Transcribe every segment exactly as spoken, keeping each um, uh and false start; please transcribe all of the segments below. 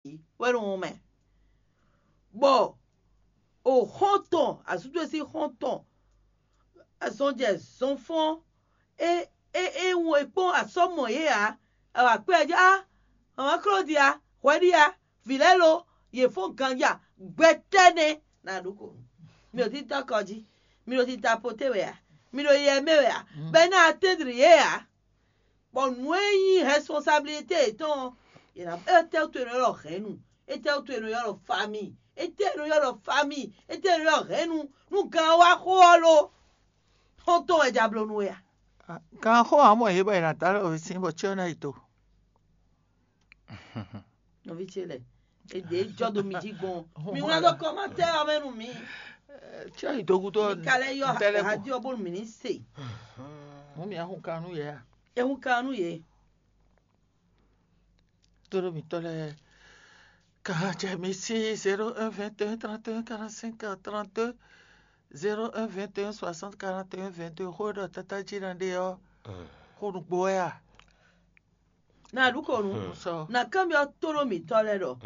wɛ nɔ wɔn mɛ, bɔ o xɔ́ntɔn, azútɔ́ sín xɔ́ntɔn, azɔnjɛ zɔnfɔ́n, é é é wun è kpɔ́n asɔ́ mɔ yě ǎ. Awǎ kpé ɛ jí á, mama Klódia, hwɛ ɖíe a, vǐ lɛ́ɛ lo, yě fɔ́n ganjí a, gbɛtɛ́ nɛ́. Na ɖu ko, mi ɖo títá kɔ jí, mi ɖo títá poté wɛ a, mi ɖo yɛ mɛ wɛ a, bɔ é ná atɛ́ndri yě ǎ. Bɔ nǔ e nyí responsabilité yětɔn ɔ́, è nǎ étɛ́ wútu è nɔ ylɔ́ hɛ̌nnu, étɛ́ wútu è nɔ ylɔ́ famille, étɛ́ è nɔ ylɔ́ famille, étɛ́ è nɔ ylɔ́ hɛ̌nnu, nú gan ɔ́ wá xo ɔ́ lo, xɔ́ntɔn wɛ ja bló nú we a? Gan xó ǎ mɔ yě bɔ è nǎ dó alɔ wěsin bɔ cyɔ ná yi do. Nɔví ce lɛ, è ɖě jɔ dó mi jí gbɔn. Mi wlán dó kɔmatɛ́ ɔ́ mɛ nú mi. Cyɔ yi do gúdo. Mi ka lɛ́ yɔ radio ɔ́ bónú mǐ ní se. Mɔ̌ mǐ ahun kan nú yě a? Ehun kan nú yě. Tóɖó mǐtɔn lɛ́ɛ ka jɛ mi sí zéro un vingt et un trente et un quarante-cinq trente-deux, zéro un vingt et un soixante quarante et un vingt-deux, xó e ɖɔ tátájí ná ɖe ɔ́, xó nǔgbó wɛ a? Na ɖu ko nu. Sɔ. Na kanbyɔ́ tónɔ mǐtɔn lɛ́ɛ ɖɔ,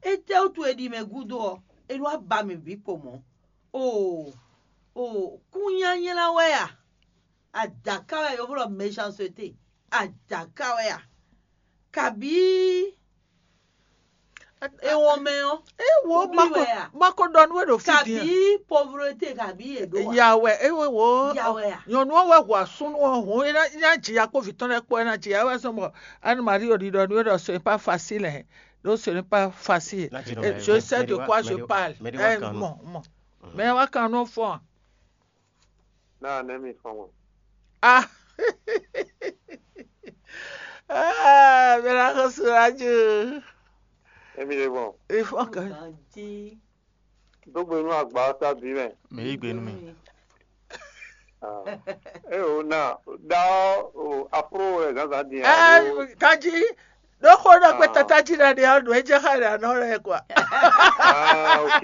étɛ́wútu è ɖi mɛ gúdo ɔ́, é nɔ wá ba mǐ bǐ kpo mɔ̌? Oo, oo, kún nyánylá wɛ a? Adǎká wɛ, yovó ɖɔ méchanceté. Adǎká wɛ a? Kabǐ ewɔn mɛ ɔ́, é wo wúblí wɛ a? Ma ko ɖɔ nú we ɖo fí din a? Kabǐ pauvreté, kabǐ è ɖó a? Ya wɛ é wo wo Ya wɛ a? Nyɔnu ɔ́ wɛ hu asúnú ɔ́ hǔn é ná é ná jǐ ya kpó vǐ tɔn lɛ́ɛ kpó é ná jǐ ya wɛ zɔn bɔ Anne Marie ò ɖiɖɔ nú é ɖɔ ce n'est pas facile hein. Donc ce n'est pas facile. Là, tu Et je sais de quoi je parle. Mais de Eh, Wakano. Mɔ mɔ. Mɛ wa kan nɔ fɔn a? Náà nɛ́ mi fɔn mɔ. Ah. Ah, mɛ na xɔ sura ju. Émi ɖe gbɔn. Ifɔn kan. Ganjí. Dó gbe nú agba ɔ́ sábì mɛ. Mɛ yí gbe nú mi. Ah. É o na da ɔ́ o afro wɛ zǎnzǎn din alo. Kanjí, ɖó xó ɖɔ kpé tata jí ɖa ɖe ɔ́, nǔ e jɛ xá ɖe anɔ lɛ́ɛ kɔa. Ah, ok.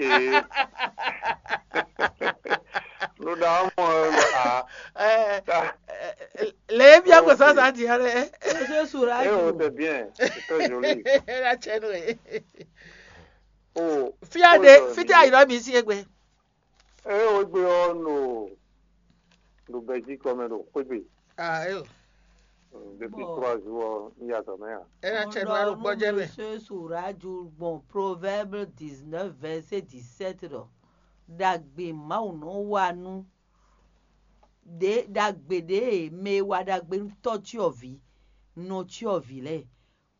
Nú ɖa ɔ́ mɔ ɛ lɔ a. Lě e bia gbɔ zǎnzǎn din ɔ́ lɛ́ɛ. Jésus la É o, c'est bien, c'est très joli. La tsɛ nú e. Oh, Fia oh, ɖe, euh, fite ayǐ lɔ mi sí egbe. É o gbe ɔ́ no ɖo Belgique ɔ́ mɛ ɖo xwégbe. Ah, é o. Depuis Bon. trois jours ɔ́, un yi azɔ̌ mɛ ǎ. É ná tsɛ nú alɔ gbɔjɛ mɛ. Monsieur Suraju gbɔn Proverbe dix-neuf verset dix-sept ɖɔ, ɖagbe Mawu nɔ wa nú ɖě ɖagbe ɖě e mɛ e wa ɖagbe nú tɔ́ cyɔvǐ, nɔ cyɔvǐ lɛ́ɛ.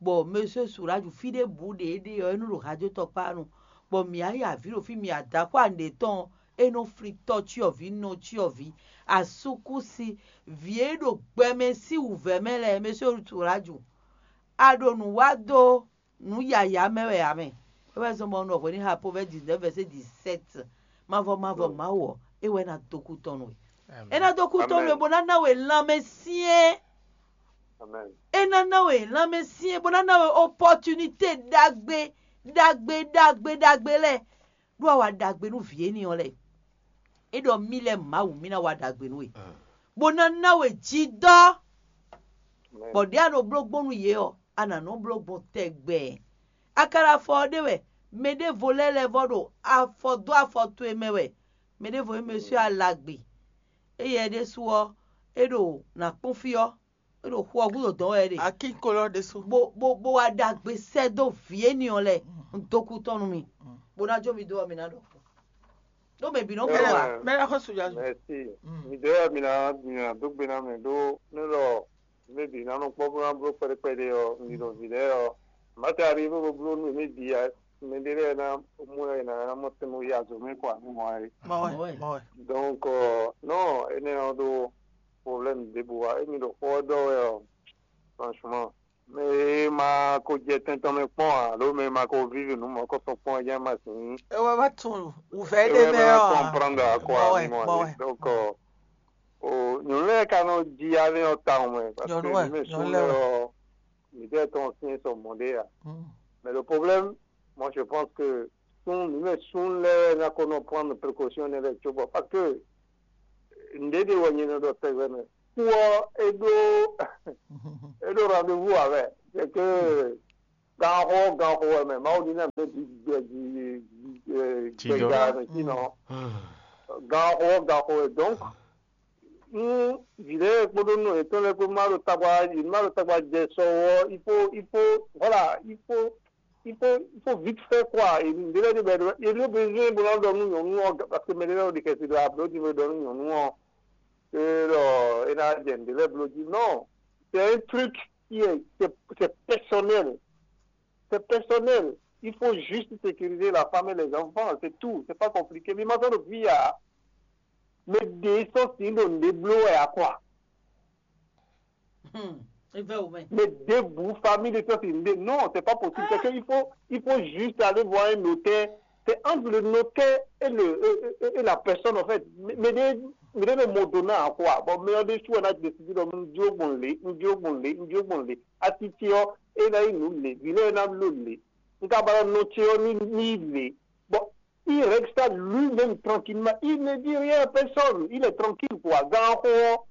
Bɔ Monsieur Suraju fí ɖěbǔ ɖě é ɖe ɔ́, é nɔ ɖo hajó tɔkpá nu, bɔ mǐ yi avǐ ɖo fí, mǐ adǎkpá nǔɖé tɔn ɔ́, é nɔ flín tɔ́ cyɔvǐ, nɔ cyɔvǐ, asúkúsi, vǐ e ɖo gbɛmɛ sín wǔvɛ́ mɛ lɛ́ɛ, Monsieur Suraju, a ɖo nǔ wa dó nǔ yǎyá mɛ wɛ ǎ mɛ. É wɛ zɔ́n bɔ un ɖɔ hwě ní ha Proverbe dix-neuf verset dix-sept. Mavɔ mavɔ Mawu ɔ́, é wɛ ná dó kú tɔn nú we. É ná dó kú tɔn nú we, bó ná ná we lanmɛ syɛ́n. É ná ná we lanmɛ syɛ́n, bó ná ná we opportunité ɖagbe ɖagbe ɖagbe ɖagbe lɛ́ɛ, ɖó a wa ɖagbe nú vǐ énɛ́ ɔ́ lɛ́ɛ. É ɖɔ mì lɛ́ɛ Mawu, mì ná wa ɖagbe nú we, bó ná ná we jidɔ́, bɔ ɖěe a nɔ bló gbɔn nú yě ɔ́, a nǎ nɔ bló gbɔn tɛgbɛ. A ka ɖo afɔ ɔ́ ɖe wɛ, mɛ ɖěvo lɛ́ɛ lɛ́ vɔ ɖo afɔ dó afɔ towe mɛ wɛ, mɛ ɖěvo nyí Monsieur Alagbe. Éyɛ́ ɖésú ɔ́, é ɖo nǎ kpɔ́n fí ɔ́, é ɖo xu ɔ́ gúdo dɔn wɛ é ɖe. Akíkolɔ ɖésú. Bó bó bó wá ɖagbe sɛ́ dó vǐ énɛ́ ɔ́ lɛ́ɛ, un dó kú tɔn nú mi, bó ná jó mi dó ɔ́, mi ná ɖɔ. Ɖó mɛ bǐ nɔ bló wa. Mɛ ná xɔ suja. Merci. Mi ɖe mi na mi na dó gbe na mɛ ɖó ne lɔ mɛ bǐ na nɔ kpɔ́ bó ná bló kpɛɖé kpɛɖé ɔ́, mi ɖo vǐ lɛ́ɛ ɔ́, mǎ te ari bó bló nú mɛ bǐ a, mɛ ɖé lɛ́ɛ ná mú ɛ ná mɔ tɛn mɔ yi azɔ̌ mɛ kɔ àmì mɔ ɛ. Mɔ wɛ, mɔ wɛ. Donc non, énɛ́ ɔ́ ɖó problème ɖěbǔ wa, émi ɖo xó ɔ́ ɖɔ wɛ ɔ́, franchement, mɛ e ma ko jɛ tɛn tɔn mɛ kpɔ́n ǎ, alo mɛ e ma ko vívi nǔ mɔ̌kɔtɔn kpɔ́n é jɛ́n ma sǐn. É wɛ ma tunwun wǔvɛ́ ɖé mɛ ɔ́. Comprendre à quoi. Mɔ wɛ, mɔ wɛ. Donc o nyɔ̌nu lɛ́ɛ ka nɔ ji alé ɔ́ tawun mɛ, parce que mɛ sun lɛ́ɛ ɔ́, mǐ tɛ tɔn sín sɔ mɔ̌ ɖé ǎ. Mais le problème, moi je pense que sun mǐ mɛ sun lɛ́ɛ ná ko nɔ prendre précaution ne lɛ́ɛ cóbɔ, parce que nǔɖé ɖé wɛ nyɛ nɔ ɖɔ tɛgbɛ mɛ. Kú ɔ́, é ɖó é ɖó rendez-vous ǎ wɛ. C'est que Ganxɔ ganxɔ wɛ mɛ, Mawu ní nɛ mɛ bí gbɛ jí gbɛga mɛ sínɔ. Ganxɔ ganxɔ wɛ. Donc, nú vǐ lɛ́ɛ kpódó nɔ yětɔn lɛ́ɛ kpó má ɖo tagba yě má ɖo tagba jɛ sɔ ɔ́, il faut il faut voilà il faut il faut il faut vite fait quoi. Ɖé lɛ́ɛ ɖé bɛ ɖé lɛ́ɛ besoin bó ná ɖɔ nú nyɔ̌nu ɔ́, parce que mɛ ɖé lɛ́ɛ ɖo ɖi kɛsi ɖo abló jí bó ɖɔ nú nyɔ̌nu ɔ́, é ɖɔ é ná jɛ nǔɖé lɛ́ɛ bló jí. Non, c'est un truc qui est c'est c'est personnel. C'est personnel. Il faut juste sécuriser la femme et les enfants, c'est tout. C'est pas compliqué. Mi ma sɔ́ ɖo fí ǎ. Mɛ ɖě sɔ́ sin ɖo nǔɖé bló wɛ ǎ quoi. Hmm. Evɛ o mɛ. Mais debout, famille de toi, c'est une... Non, c'est pas possible. C'est qu'il faut, il faut juste aller voir un notaire. C'est entre le notaire et, le, et, et- et la personne, en fait. Mais, mais des, mais des mots donnants à quoi? Bon, mais on est sûr, on a décidé de nous dire bon, les, nous dire bon, les, nous dire bon, les. Attitude, et là, il nous les, il est dans le les. Nous avons noté, ni, ni les. Bon, il règle ça lui-même tranquillement. Il ne dit rien à personne. Il est tranquille, quoi. Grand corps.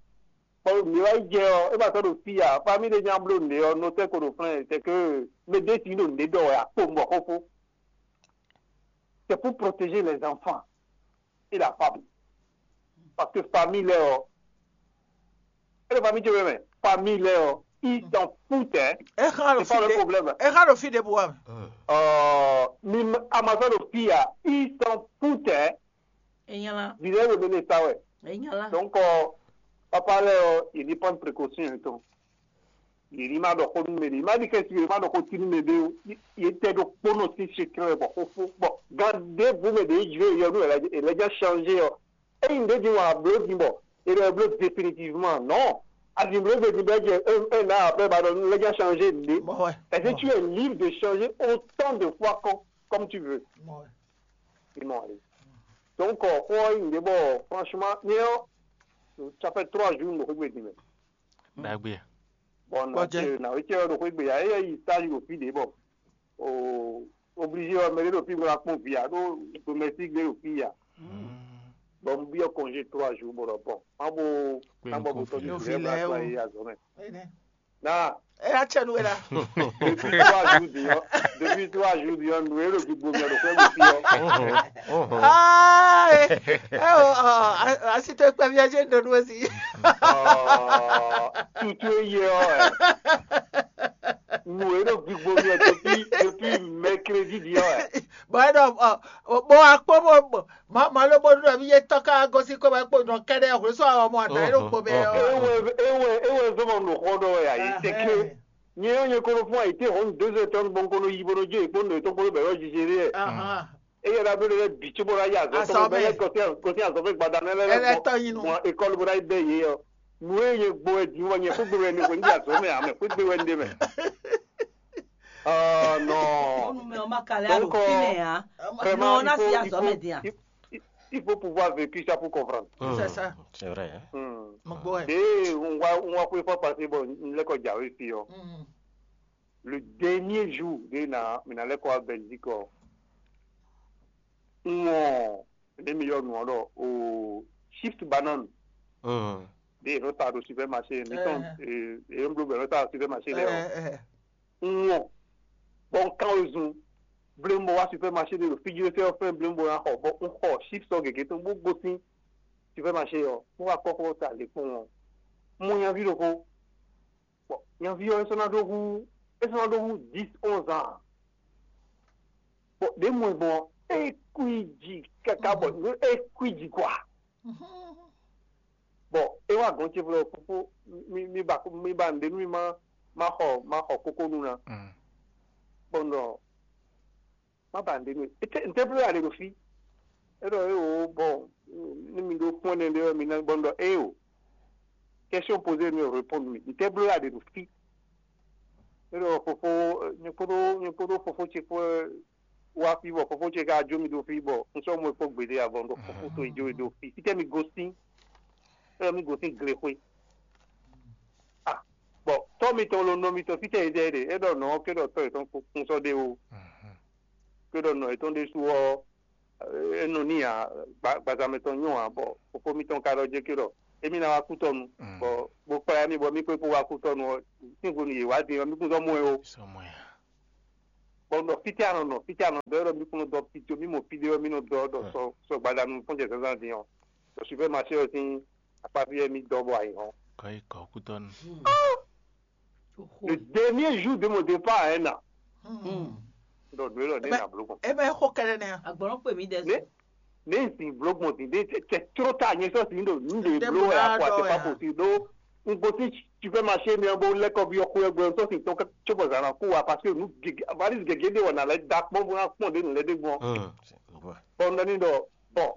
Bon, mi wá yi jɛ ɔ, e ma sɔ́ ɖo fí a, famille ɖé nya bló nǔɖé ɔ, notɛ́ ko ɖo flɛ́n, c'est que mɛ ɖé si ɖo nǔɖé ɖɔ wɛ a, kpo un bɔ xóxó. C'est pour protéger les enfants et la femme. Parce que famille lɛ ɔ, e ɖo famille ce wɛ mɛ, famille lɛ ɔ, ils s'en foutent, hein. E xa ɖo C'est pas le fi ɖe. problème. E xa ɖo fi ɖe bu wa mɛ. Euh, mi a ma sɔ́ ɖo fí a, ils s'en foutent, hein. Enyala. Vǐ lɛ́ɛ ɖo mɛ sa wɛ. Enyala. Donc, euh, papa lɛ́ɛ ɔ, il dit prendre précaution et tout. Il dit ma ɖɔ xó nú mɛ ɖé, ma ɖi kɛsi, ma ɖɔ xó ti nú mɛ ɖé o. Il était ɖo kpónɔ sín secret bɔ xófó bɔ gan ɖěbǔ mɛ ɖě jló yɔ nú è lɛ́ já changé ɔ. Eyi ɖě din wà bló din bɔ è lɛ bló définitivement non. Azin bló gbé din bɔ é jɛ é ná après ba ɖɔ lɛ́ já changé ɖě. Bɔ wɛ. Est-ce que tu es libre de changer autant de fois comme, comme tu veux? Bɔ wɛ. Ils m'ont allé. Donc, euh, pour une des bon, franchement, nous, ça fait trois jours nous revenons. Dagbe. Bon, Kpɔjɛ. na wetsi ɔ ɖo xwé gbe ya, eya yi sali ɖo fi ɖe bɔ o obligé ɔ mɛ ɖe ɖo fi ŋlɔ akpɔn via ɖo domestique ɖe ɖo fi ya. Bon, un biɔ congé trois jours bɔ ɖɔ bon, ma bo na bɔ bo tɔjú Yo fi fi lɛ ba lɛ to o. ayi azɔ mɛ. Ene. Na E ya tsɛ nu wɛ la. Depuis trois jours diɔ, depuis trois jours diɔ, nu e ɖo gbigbo mɛ ɖo xwé gbe fi ɔ. Aa e o asi to kpɛ fia jɛ nɔ nu esi. Tutu eye ɔ ɛ. Nu e ɖo gbigbo mɛ depuis depuis mercredi diɔ ɛ. Bɔn e ɖɔ bɔ akpɔ bɔ ma ma ló bó ɖɔ mi yé tɔ ká gosí kó bɛ kpó nɔ kɛɖɛ hwlé sɔ àwọn ọmọ àtà yẹn ló kpó bɛ. Ewé ewé ewé zɔmọ nù xɔ ɖɔ ɛ ayi teke. Nye ɔ nye kolo fún ayi te hɔn deux heures temps bon kono yi bono dze ekpo nɔ etɔn kolo bɛ yɔ jijere ɛ. Eye la bɛ lɛ bi tso bɔ la yi azɔ tɔn bɛ lɛ kɔsi kɔsi azɔ fɛ gbada nɛ lɛ Ɛlɛ tɔ yi nu. Mɔ ekɔlu bɔ la yi bɛ ye ɔ. Nu ye nye gbo ɛ di wɔ nye kó gbe wɛ ne ko ndi azɔ mɛ amɛ kó gbe wɛ nde mɛ. Ah non. Onu mɛ ɔma kalẹ alo Donc, euh, fi mɛ ya. Vraiment, Non, na il faut, si il azɔ faut, mɛ dia. il, il faut pouvoir vécu ça pour comprendre. C'est ça. C'est vrai. Hein? Hmm. Mo gbɔ ɛ. Et on va on va pouvoir passer bon, une école d'arrêt ici. Oh. Le dernier jour de na mina l'école à Belgique. Oh. On les meilleurs noirs au shift banane. Hmm. Des retards au supermarché. Mettons, euh, et un bleu retard au supermarché. Là. Ɛ Ŋɔ. Bɔ un kan wezun. Blembo wá supermarché ɖe ɖo fiji ɖe fɛn fɛn blembo na xɔ bɔ un xɔ chips ɔ gěgé tɔn bó gosín supermarché ɔ un wá kɔkɔ ta lě kpɔn ɔ. Mo nyaví ɖokpó. Bɔ nyaví ɔ esɔ́ ná ɖó hú esɔ́ ná ɖó hú dix onze ans. Bɔ ɖě mɔ ɛ gbɔn é kú yi dzi kaka bɔ é kú yi dzi kɔa. Bɔ é wá gɔn ce vlɔ fúfú mi mi ba mi ba ŋɖe nú mi ma ma xɔ ma xɔ kókó nú ná. Bɔ ŋɖɔ má ba ŋɖe nú ete ŋtɛ bló yà ɖe ɖo fí. É ɖɔ é wò bɔ ní mi ɖó kpɔ́n ɛnɛ ɖé wɛ mi ná bɔ ŋɖɔ é o. Question posée mi répondre mi ŋtɛ bló yà ɖe ɖo fí. É ɖɔ fofo nyɛ kpódó nyɛ kpódó fofo ce kpó wá fí bɔ fofo ce ka jó mi ɖo fí bɔ un sɔ́ mɔ fó gbeɖé avɔ ɖo fofo to yi jó yi ɖo fí. Fítɛ́ mi gosín? É ɖɔ mi gosín glexwé. Ah, bɔ tɔ́ mitɔn lo nɔ mitɔn fítɛ́ yi dɛ ɖe é ɖɔ nɔ ké ɖɔ tɔ́ yětɔn kún sɔ́ ɖé o. Ké ɖɔ nɔ yětɔn ɖésú ɔ́ é nɔ ní ǎ. Gbazamɛ tɔn nyɔ́ ǎ bɔ fofó mitɔn ka ɖɔ jɛ ké ɖɔ émí ná wá kú tɔnu bɔ bó kplá mì bɔ mí kpé kpó wá kú tɔnu ɔ́. Sín hwenu yě wá din ɔ́ mí kún sɔ́ mɔ ɛ o. Sɔmɔya. Bɔ un ɖɔ fítɛ́ a nɔ nɔ, fítɛ́ a nɔ dɔ, é ɖɔ mí kún nɔ dɔ fítɛ́, mí mɔ fídé ɔ́, mí nɔ dɔ ɖɔ sɔ sɔ gbadanu fɔ́n jɛ zǎnzǎn din ɔ́, ɖɔ supermarché ɔ́ sín akpáví wɛ mí dɔ bɔ ayǐ hɔn. Kɔ́ yi kɔ kútɔ́ nu. Le dernier jour de mon départ à un an, ɖɔ nǔ élɔ́ ní nà bló gbɔn. Ebe xo kɛɖɛ nɛ. Agbɔnɔ kpe mi dɛ. Ne ne n sin bló gbɔn din de, c'est trop tard, nyɛ sɔ sin ɖo nu de bló wɛ akɔ ate pa posi ɖo n gosí supermarché mi bó lɛkɔ bi ɔkú ɛgbɛ n sɔ sin tɔn tso bɔ zan na kú wa, parce que nu gègé, valise gègé de wɔ na lɛ da kpɔn bó na kpɔn de nu lɛ de gbɔn. Bɔn n dɔ ni ɖɔ bɔn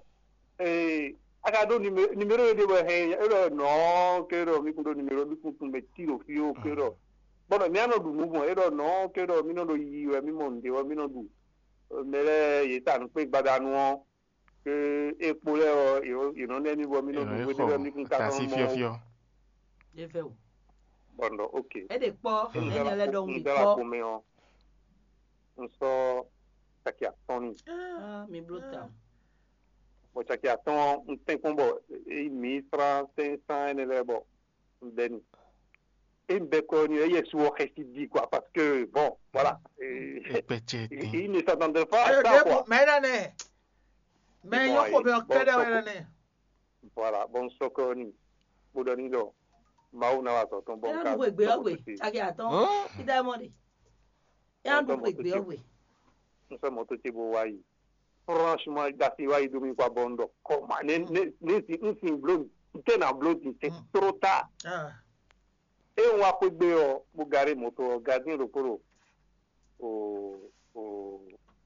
ee a ka ɖó numéro ɖé bɔ hɛn é ɖɔ nɔ ke ɖɔ mi kun ɖó numéro mi kun tun mɛ tí ɖo fí ó ke ɖɔ bɔn mi anɔ ɖu nǔ gbɔn é ɖɔ nɔ ke ɖɔ mi nɔ ɖo yiyi wɛ mi mɔ nǔɖé wɛ mi nɔ ɖu mɛ lɛ́ɛ yě ta nǔ kpé gbadanu ɔ́ ke é kpo lɛ́ɛ ɔ́ yě nɔ nɛ́ mi bɔ mi nɔ ɖu hweɖé wɛ mi kun ka nɔ mɔ ó. Bɔn ɖɔ ok. É ɖe kpɔ́. Mɛ nyɛ lɛ ɖɔ wun mi kpɔ́. Mɛ ɔ́ un sɔ́ caki atɔ́n n'i. Mi bló ta. Bɔ caki atɔ́n ɔ́ un tɛ́nkpɔ́n bɔ é yi mǐ flán sɛ́nsán énɛ́ lɛ́ɛ bɔ un bɛ́ n'i. É un bɛ́ kɔ ɔ́ n'i ɔ́, éyɛ́ su ɔ́ xɛsi ɖi quoi, parce que bon, voilà. Èyí ne s'attendait pas à ça quoi. Mɛ énɛ́ nɛ. Mɛ nyɔ́ xo mɛ ɔ́ kɛ́ɖɛ́ wɛ énɛ́ nɛ. Voilà, bɔ un sɔ́ kɔ ɔ́ n'i, bó ɖɔ n'i ɖɔ Mawu ná wa azɔ̌ tɔn bɔ un ka. Énɛ́ nú xwegbe ɔ́ gbe, caki atɔ́n. Ida mɔ ɖe. Énɛ́ nú xwegbe ɔ́ gbe. Un sɔ́ mɔ̌ towe ce bó wá yi. Franchement, ɖasi wá yi dó mi kpa bɔ un ɖɔ kɔma ne ne ne si un sin blo un tɛ na blo din, c'est trop tard. E un wá xwé gbé ɔ́, bó garé mɔto ɔ́, gardien ɖokpó ɖo o o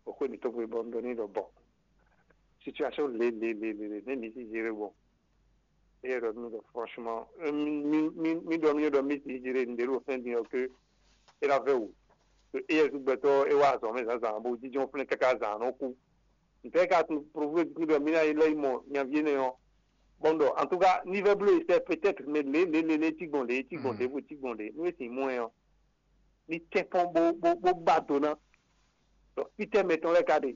o xwé mǐtɔn gbe bɔ un ɖɔ n'i ɖɔ bɔ situation le le le le le ne mi si géré bɔ. Eye ɖɔ mi ɖɔ franchement, mi mi mi ɖɔ mi ɖɔ mi si géré un ɖe ɖo fɛn din ɔ́ ke é ná vɛ wǔ. Eye gbɛtɔ́ é wá azɔ̌ mɛ zǎnzǎn bó jínjɔ́n flɛ́n káká zǎn ɔ́ kú. Ntɛ́ ka tunwun provlému tɔn ɖɔ mǐ ná yi lɛ́ yi mɔ nyaví énɛ́ ɔ́? Bɔn ɖɔ en tout cas ní vɛ́ bló e sɛ peut-être, mais lě lě lě lě cí gbɔn ɖě cí gbɔn ɖě bó cí gbɔn ɖě nú é sin mɔ ɛ ɔ́, ní tɛ́nkpɔ́n bó bó bó ba do ná. Ɖɔ fítɛ́ mɛ tɔn lɛ́ɛ ka ɖe?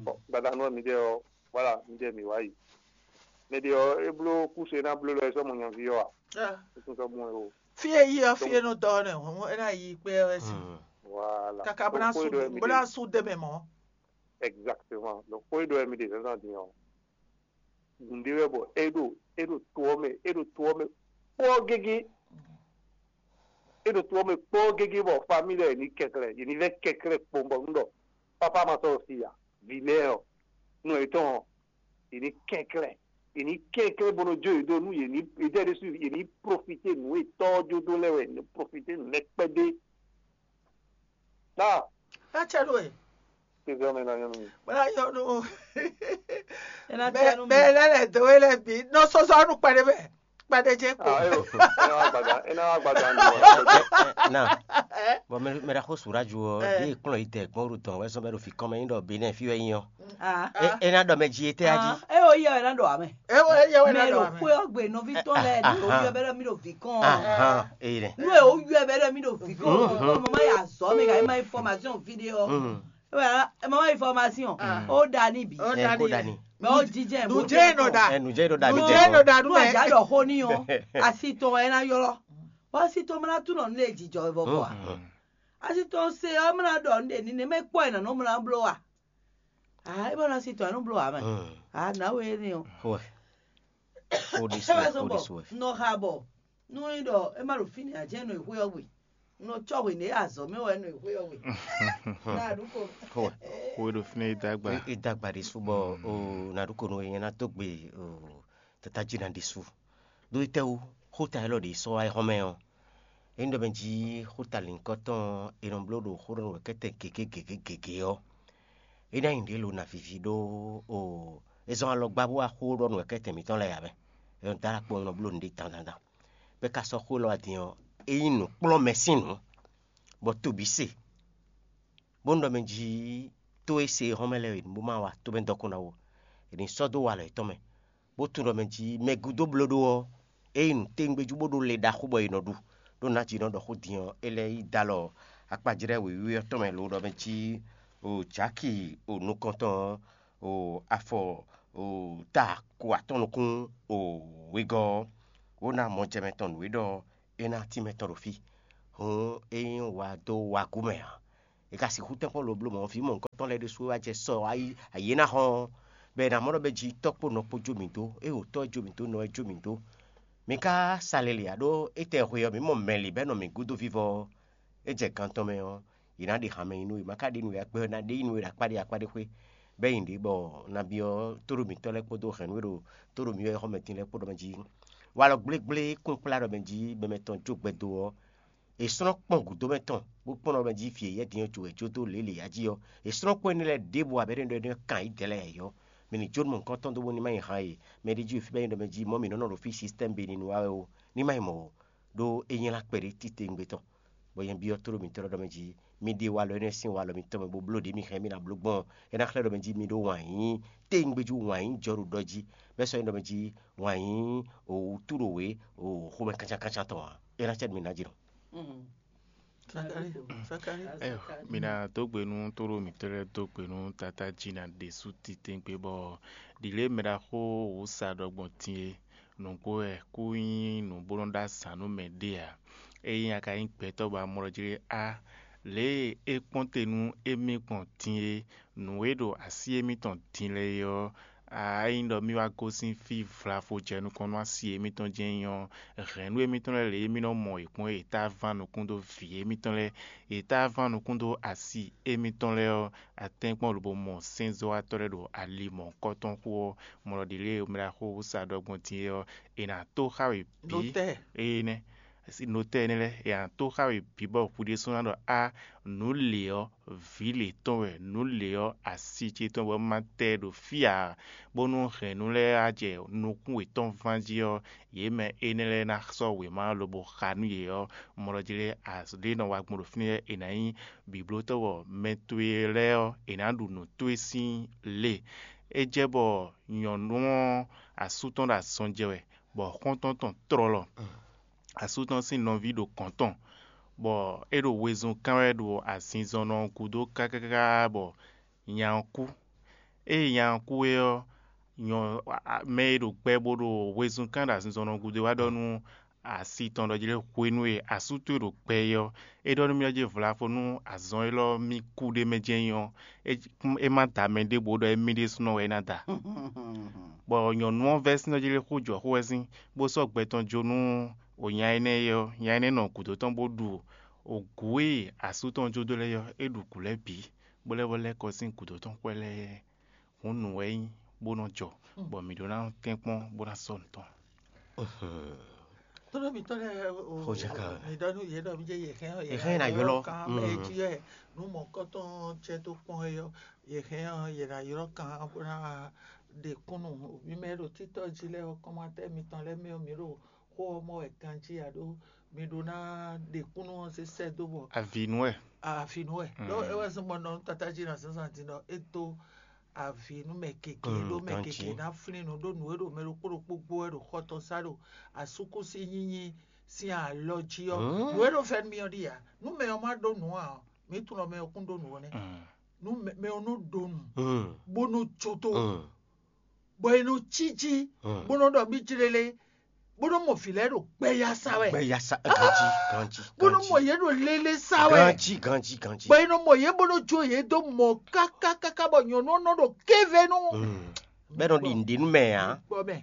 Bɔn gbadanu ɔ́ mi ɖe ɔ́, voilà, mi ɖe mi wá yi. Mɛ ɖe ɔ́ é bló kúse ná bló lɔ é sɔ́ mɔ nyaví ɔ́ a? É tún sɔ́ mɔ ɛ o. Fí e yí ɔ́, fí e nɔ dɔ ɔ́ nɛ hɔn é ná yi kpé ɔ́ wɛ sin. Voilà. Kaka bó ná sú bó ná sú dé mɛ mɔ̌. Exactement. Donc xó e ɖɔ wɛ mi ɖe zǎnzǎn din ɔ́, nǔɖé wɛ bɔ é ɖo é ɖo to ɔ́ mɛ, é ɖo to ɔ́ mɛ kpɔ́ɔ́ gégé. É ɖo to ɔ́ mɛ kpɔ́ɔ́ gégé bɔ famille lɛ́ɛ yě ní kɛnklɛ́n, yě ní vɛ́ kɛnklɛ́n kpɔ́n bɔ un ɖɔ papa ma sɔ́ si a, vǐ lɛ́ɛ ɔ́, nɔ yětɔn ɔ́, yě ní kɛnklɛ́n, yě ní kɛnklɛ́n bó nɔ jó yě dó nú yě ní yě ɖésú yě ní profité nǔ e tɔ́ ɔ́ jó dó lɛ́ɛ wɛ, yě ní profité nǔ lɛ́ɛ kpɛ́dé. Náà Ná cɛ nú we. Tezɔmɛ ná nyɔ́ nú mi. Bó ná nyɔ́ nú Ena mɛ tianu mɛ lɛ́ lɛ̌ dó we lɛ́ɛ bǐ nɔ sɔ́sɔ́ nú kpɛɖé mɛ kpɛɖé jɛ kpo. Ah, eyo, ena wa gbada, ena wa gbada ndu wa. Na bɔn mɛ mɛ ɖaxó surajo ɔ ɖe kplɔn yi dɛ gbɔn ɖo dɔn wɛ sɔn bɛ ɖo fi kɔn mɛ nyi ɖɔ benɛ fi wɛ nyi ɔ. Ah. E ena ɖɔ mɛ ji ete a ji. Ah, e o yɛ wɛ na ɖɔ amɛ. E o yɛ wɛ na Mɛ ɖɔ ɖo amɛ. Xwé ɔgbe nɔvi tɔn lɛ ni o yɔ bɛ ɖɔ mi ɖo vi kɔn. Ahan, eyi nɛ. Nu e o yɔ bɛ ɖɔ mi ɖo vi kɔn. Mama ya zɔ mi ka ma information vidéo. Mama information. O da ni bi. O Ɛ da kó ni. Dani. Mɛ o jijɛ Nujɛ nɔ da. Ɛ nujɛ ɖo dani. Nujɛ nɔ da nu Nú mɛ. Àjà ɖɔ xó ní ɔ, asi tɔn ɛ ná ylɔ́. Bɔ asi tɔn mla tún nɔ nu lé jijɔ vɔ bɔ a. Asi tɔn se ɔ mla ɖɔ nu ɖe ní ne mɛ kpɔ ɛ nɔ mla bló a. Ah, ebe na si tɔn anu blo ame. Ah, na we ni o. Xo ɛ. Xo ɖi su Ebe ɛ, so xo ɖi bɔ su ɛ. Nɔ ha bɔ. Nu ni ɖɔ e ma ɖo fini a jɛ nɔ exwe ɔgbe. Nɔ tsɔ hwe ne azɔ mɛ wɛ nɔ exwe ɔgbe. Na ɖu ko. Xo ɛ. Xo e ɖo fínɛ́ e dó agba. E dó agba ɖi su bɔ o na ɖu ko nɔ e nyɛ na dó gbe o tata jí na ɖi su. Ɖó étɛ́wú xóta élɔ́ ɖě sɔ́ wá yi xɔ́mɛ ɔ́, é nyí ɖɔ mɛ jí xóta lǐnkɔ́tɔn e nɔ bló ɖo xóɖɔnú wɛ̌kɛ́tɛn gěgé gěgé gěgé ɔ́, é ná nyí ɖě lo na vivi ɖó o é zɔ́n alɔgbá bó wá xó ɖɔ nú wɛ̌kɛ́tɛn mǐtɔn lɛ́ɛ ǎ mɛ. É nɔ dó alɔ kpɔ́n nɔ bló nǔɖé dandan. Bɔ é ka sɔ́ xó élɔ́ wá din ɔ́, é nyí nǔkplɔ́nmɛ sín nǔ, bɔ to bǐ se, bó nɔ ɖɔ mɛ jí tó e se xɔ́mɛ lɛ́ɛ e bó ma wa tó mɛ dɔkun ná ó, è nǐ sɔ́ dó walɔ yětɔn mɛ. Bó tunwun ɖɔ mɛ jí mɛ gúdo bló ɖó ɔ́, é nyí nǔtɛ́ngbéjú bó ɖó le ɖaxó bɔ è nɔ ɖu, ɖó nǎ jí nɔ ɖɔ xó din ɔ́, é lɛ́ yi dó alɔ akpajlɛ́ wěwé ɔ́ tɔn mɛ lo ɖɔ mɛ jí o jaki o nukɔntɔn ɔ́, o afɔ o ta ko atɔn nukún o wegɔ́ ɔ́, wǒ ná mɔ jɛ mɛ tɔn nǔ e ɖɔ é ná tínmɛ tɔn ɖo fí. Hǔn é nyí wa dó wagú mɛ ǎ. È ka sixú tɛ́nkpɔ́n lobló mɔ̌ vǐ mɔ̌hunkɔtɔn lɛ́ɛ ɖésú e wá jɛ sɔ ayǐ e ná hɔn ɔ́, bɔ è nǎ mɔ ɖɔ mɛ jí tɔ́ kpó nɔ kpó jó mǐ dó, ée wǒ tɔ́ ɛ jó mǐ dó, nɔ ɛ jó mǐ dó. Mi ka sa lě lě ǎ ɖó étɛ́ hwe ɔ́, mǐ mɔ mɛ lě bɔ é nɔ mǐ gúdo vívɔ ɔ́, é jɛ gan tɔn mɛ ɔ́, yě ná ɖe hanmɛ nyi nú we. Ma ka ɖe nú we akpɛ́ ɔ́, ná ɖe nyi nú we ɖo akpá ɖé akpá ɖé xwé, bɔ é nyi ɖě bɔ nabí ɔ́ tóɖó mǐtɔn lɛ́ɛ kpódó hɛ̌nnu e ɖo tóɖó mǐ wɛ xɔmɛ din lɛ́ɛ kpó ɖɔ mɛ jí. Walɔ gblégblé kún kplá ɖɔ mɛ jí mɛ mɛtɔn jó gbɛdo ɔ́, è slɔ́n kpɔ́n gǔdo mɛ tɔn, bó kpɔ́n ɖɔ mɛ jí vǐ e yɛ́ din ɔ́ jǒ wɛ jó dó lě lě ǎ jí ɔ́, è slɔ́n kpɔ́n énɛ́ lɛ́ɛ ɖěbǔ abɛ́ ɖɔ é nɔ kan yí dɛ̌ lɛ́ɛ ǎ ɔ́, mɛ ní jó nú mɔ̌hunkɔtɔn dó bónú ní má nyi han e mɛ ɖé jí fí bɔ é nyí ɖɔ mɛ jí mɔ̌ mǐ nɔ́ nɔ ɖo fí système Benin wa wɛ ó, ní má nyí mɔ̌ ó, ɖó é nylá kpɛɖé titewungbe tɔn. Bɔ nyɛ byɔ́ tló mitɔn lɛ́ɛ ɖɔ mɛ jí, mi ɖe walɔ énɛ́ sín walɔ mitɔn mɛ bó bló ɖě mi hɛn mì ná bló gbɔn ɔ́, é ná xlɛ́ ɖɔ mɛ jí mi ɖó wǎn yíyí téwúngbéjú wǎn yíyí jɔ ɖo ɖɔ jí, bɛ́ sɔ́ nyí ɖɔ mɛ jí wǎn yíyí wǔtu ɖo wě xomɛ kancankancan tɔn ǎ. É ná cɛ mi ná jlɔ́. Sakali, Sakali. Ɛyo, mi ná dó gbe nú tóɖó mǐtɔn lɛ́ɛ dó gbe nú Tatá jí ná ɖésú titɛ́ngbé bɔ ɖǐlé mɛ ɖaxó wǔ sa ɖɔ gbɔn din é. Nǔgbó wɛ kú nyí nǔ bó nɔ́ ɖó azǎn nú mɛ ɖé ǎ. Ényí a ka nyí gbɛtɔ́ bɔ a mɔ ɖɔ jí á, lě e é kpɔ́n te nú émí gbɔn din é, nǔ e ɖo así émítɔn din lɛ́ɛ é ɔ́, a nyí ɖɔ mì wá gosín fí vlavo jɛ nukɔn nú asi émítɔn jɛ́n nyí ɔ́, hɛ̌nnu émítɔn lɛ́ɛ lě e mì nɔ mɔ yě kpɔ́n é, yě tá ván nukún dó vǐ émítɔn lɛ́ɛ, yě tá ván nukún dó asi émítɔn lɛ́ɛ ɔ́, a tɛ́nkpɔ́n lobo mɔ sɛ́nzɔ́watɔ́ lɛ́ɛ ɖo ali mɔ̌hunkɔtɔn xo ɔ́, mɔ ɖɔ ɖě lě e mɛ ɖaxó sa ɖɔ gbɔn din é ɔ́, è nǎ tó xá we bǐ. Notɛ́ɛ. Énɛ́, notɛ́ɛ énɛ́ lɛ́ɛ, è nǎ tó xá we bǐ bɔ hwi ɖésú ná ɖɔ á, nǔ lě ɔ́, vǐ lě tɔn wɛ, nǔ lě ɔ́, asi ce tɔn wɛ, ma tɛ ɛ ɖo fí ǎ, bónú hɛ̌nnu lɛ́ɛ wá jɛ nukún wětɔn ván jí ɔ́, yě mɛ énɛ́ lɛ́ɛ ná sɔ́ wěma ɔ́ lobo xa nú yě ɔ́, mɔ ɖɔ jí lɛ́ɛ, ɖě nɔ wa gbɔn ɖo fínɛ́ lɛ́ɛ, è nǎ nyí bǐblótɔ́ bɔ mɛ towe lɛ́ɛ ɔ́, è nǎ ɖu nǔ towe sín lě. É jɛ bɔ nyɔ̌nu ɔ́ asú tɔn ɖo azɔn jɛ wɛ, bɔ xɔ́ntɔn tɔn tlɔlɔ. Asú tɔn sín nɔví ɖo gɔ̌n tɔn, bɔ é ɖo wezun kán wɛ ɖo azinzɔnnɔ ɔ́ gúdo káká bɔ nya ɔ́ kú. Ée nya ɔ́ kú é ɔ́, nyɔ mɛ e ɖo gbɛ bó ɖo wezun kán ɖo azinzɔnnɔ ɔ́ gúdo é wá ɖɔ nú asi tɔn ɖɔ jí lɛ́ɛ hwenu e asú towe ɖo gbɛ é ɔ́, é ɖɔ nú mì ɔ́ jí vlavo nú azɔn élɔ́ mì kú ɖ'é mɛ jɛ́n nyí ɔ́, é má da mɛ ɖěbǔ ɖɔ émí ɖésúnɔ wɛ é ná da. Bɔ nyɔ̌nu ɔ́ vɛ́ sín ɔ́ jí lɛ́ɛ xó jɔ xó wɛ sín, bó sɔ́ gbɛ tɔn jó nú nya énɛ́ é ɔ́, nya énɛ́ nɔ gǔdo tɔn bó ɖu gǔ e asú tɔn jó dó lɛ́ɛ ɔ́, é ɖu gǔ lɛ́ɛ bǐ, bó lɛ́ vɔ lɛ́ kɔ sín gǔdo tɔn xwɛ lɛ́ɛ. Hǔn nǔ wɛ é nyí bó nɔ jɔ, bɔ mǐ ɖó ná tɛ́nkpɔ́n bó ná sɔ́ nǔ tɔn. Tlóló mǐtɔn lɛ́ɛ o, Xojaka. Mi ɖɔ nú yě ɖɔ mí jɛ yě hɛn ɔ́, Yě hɛn ná ylɔ́. Kan mɛ jí wɛ nú mɔ̌kɔtɔn jɛ dó kpɔ́n é ɔ́, yě hɛn ɔ́, yě ná ylɔ́ kan bó ná ɖe kúnnu mǐ mɛ e ɖo títɔ́ jí lɛ́ɛ ɔ́, kɔ́mátɛ́ mitɔn lɛ́ɛ mɛ ɔ́, mǐ ɖo xó ɔ́ mɔ wɛ ganjí ǎ ɖó mi ɖó ná ɖe kúnnu ɔ́ zé sɛ́ dó bɔ Avǐ nú wɛ. Avǐ nú wɛ. Ɖó é wɛ zɔ́n bɔ nɔ nú tatá jí ná zɔ́n zan din ɖɔ é dó avǐ nú mɛ gěgé, ɖó mɛ gěgé ná flín nǔ ɖó nǔ e ɖo mɛ ɖokpó ɖokpó gbó wɛ ɖo xɔ tɔn sá ɖo asúkúsi nyínyí sín alɔ jí ɔ́. Nǔ e ɖo fɛ́nú mì ɔ́ ɖíe ǎ. Nú mɛ ɔ́ má ɖó nǔ ǎ ɔ́, mǐ tunwun ɖɔ mɛ ɔ́ kún ɖó nǔ ɔ́ nɛ́. Nú mɛ ɔ́ nɔ ɖó nǔ, bó nɔ jó tó, bɔ è nɔ cí jí, bó nɔ ɖɔ mì jlélé, bó nɔ mɔ vǐ lɛ́ɛ ɖo gbɛya sa wɛ. Gbɛya sa ganjí ganjí. Bó nɔ mɔ yě ɖo lélé sa wɛ. Ganjí ganjí ganjí. Bɔ è nɔ mɔ yě bó nɔ jó yě dó mɔ káká káká bɔ nyɔ̌nu ɔ́ nɔ ɖo kéve nú. Bɛ́ nɔ ɖi nǔɖé nú mɛ ǎ. Gbɔ mɛ,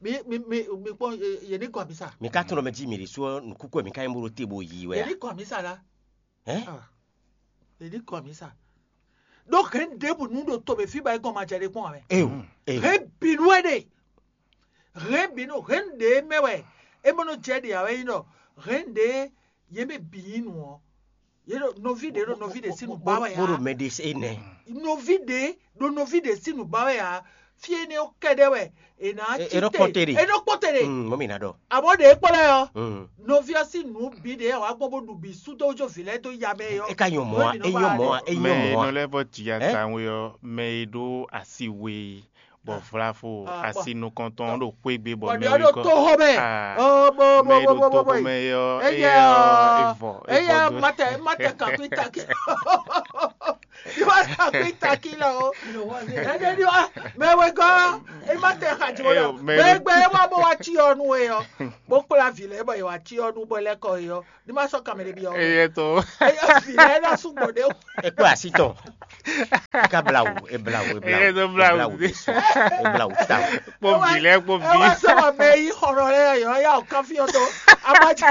mi mi mi mi kpɔn yě ní gɔn amisa. Mi ka tunɔ mɛ jí mi ɖi sú nukúkú mi ka nyí bó ɖo te bó yi wɛ. Yě ní gɔn amisa la. Ɛ? Yě ní gɔn amisa. Ɖó hɛn ɖěbǔ nú ɖo to mɛ fí ba é gɔn ma jɛ ɖe kpɔn ame. Eyo eyo. Hɛn bǐ nú ɛ ɖe. Hɛn bǐ nú hɛn ɖě mɛ wɛ é mɔ nɔ jɛ ɖe ǎ wɛ nyí ɖɔ hɛn ɖě yě mɛ bǐ nyí nǔ ɔ́. Yě ɖo nɔví ɖě ɖo nɔví ɖě sín nǔ ba wɛ ǎ. Bó ɖo mɛ ɖe se nɛ. Nɔví ɖě ɖo nɔví ɖě sín nǔ ba wɛ ǎ. Fí énɛ́ ɔ́ kɛ́ɖɛ́ wɛ è nǎ cí te. È nɔ kpɔ́n te ɖe. È nɔ kpɔ́n te ɖe. Mɔmì ná ɖɔ. Àmọ́ ɖě kpɔ́n lɛ́ɛ ɔ́, nɔví ɔ́ sín nǔ bǐ ɖě wǎ gbɔn bó ɖu bǐ sú dó jó vǐ lɛ́ɛ dó ya mɛ é ɔ́. É ka nyɔ mɔ̌ a? É nyɔ mɔ̌ a? É nyɔ mɔ̌ a? Mɛ e nɔ lɛ́ vɔ jǐ ata we ɔ́, mɛ e ɖó asi we bɔ vlavo asi nukɔntɔn ɖo xwé gbe bɔ mɛ wekɔ to xɔ mɛ. Mɛ e ɖo to xɔ mɛ yɔ eyɛ evɔ evɔ do. Mate mate kakui taki. Iwa kakui taki la o. Ɛdɛ ni wa mɛ wekɔ. E ma tɛ xa jɔ Eyo, la. Mary. Gbɛgbɛ e wa bɔ wa ci ɔ nu e ɔ. Bo kpla vi lɛ bɔ e wa ci ɔ nu bɔ lɛ kɔ e ɔ. Ni ma sɔ kamɛ de bi ɔ. Eye to. Eyo vi lɛ na su gbɔ de. E kpó así tɔn. E ka blawu, e blawu, e blawu. Eye to blawu. E blawu, e blawu ta. Kpó vi lɛ kpó E wa vi. Sɔ wa mɛ yi xɔrɔ lɛ yɔ ya o kan fi ɔ to. A ma ci.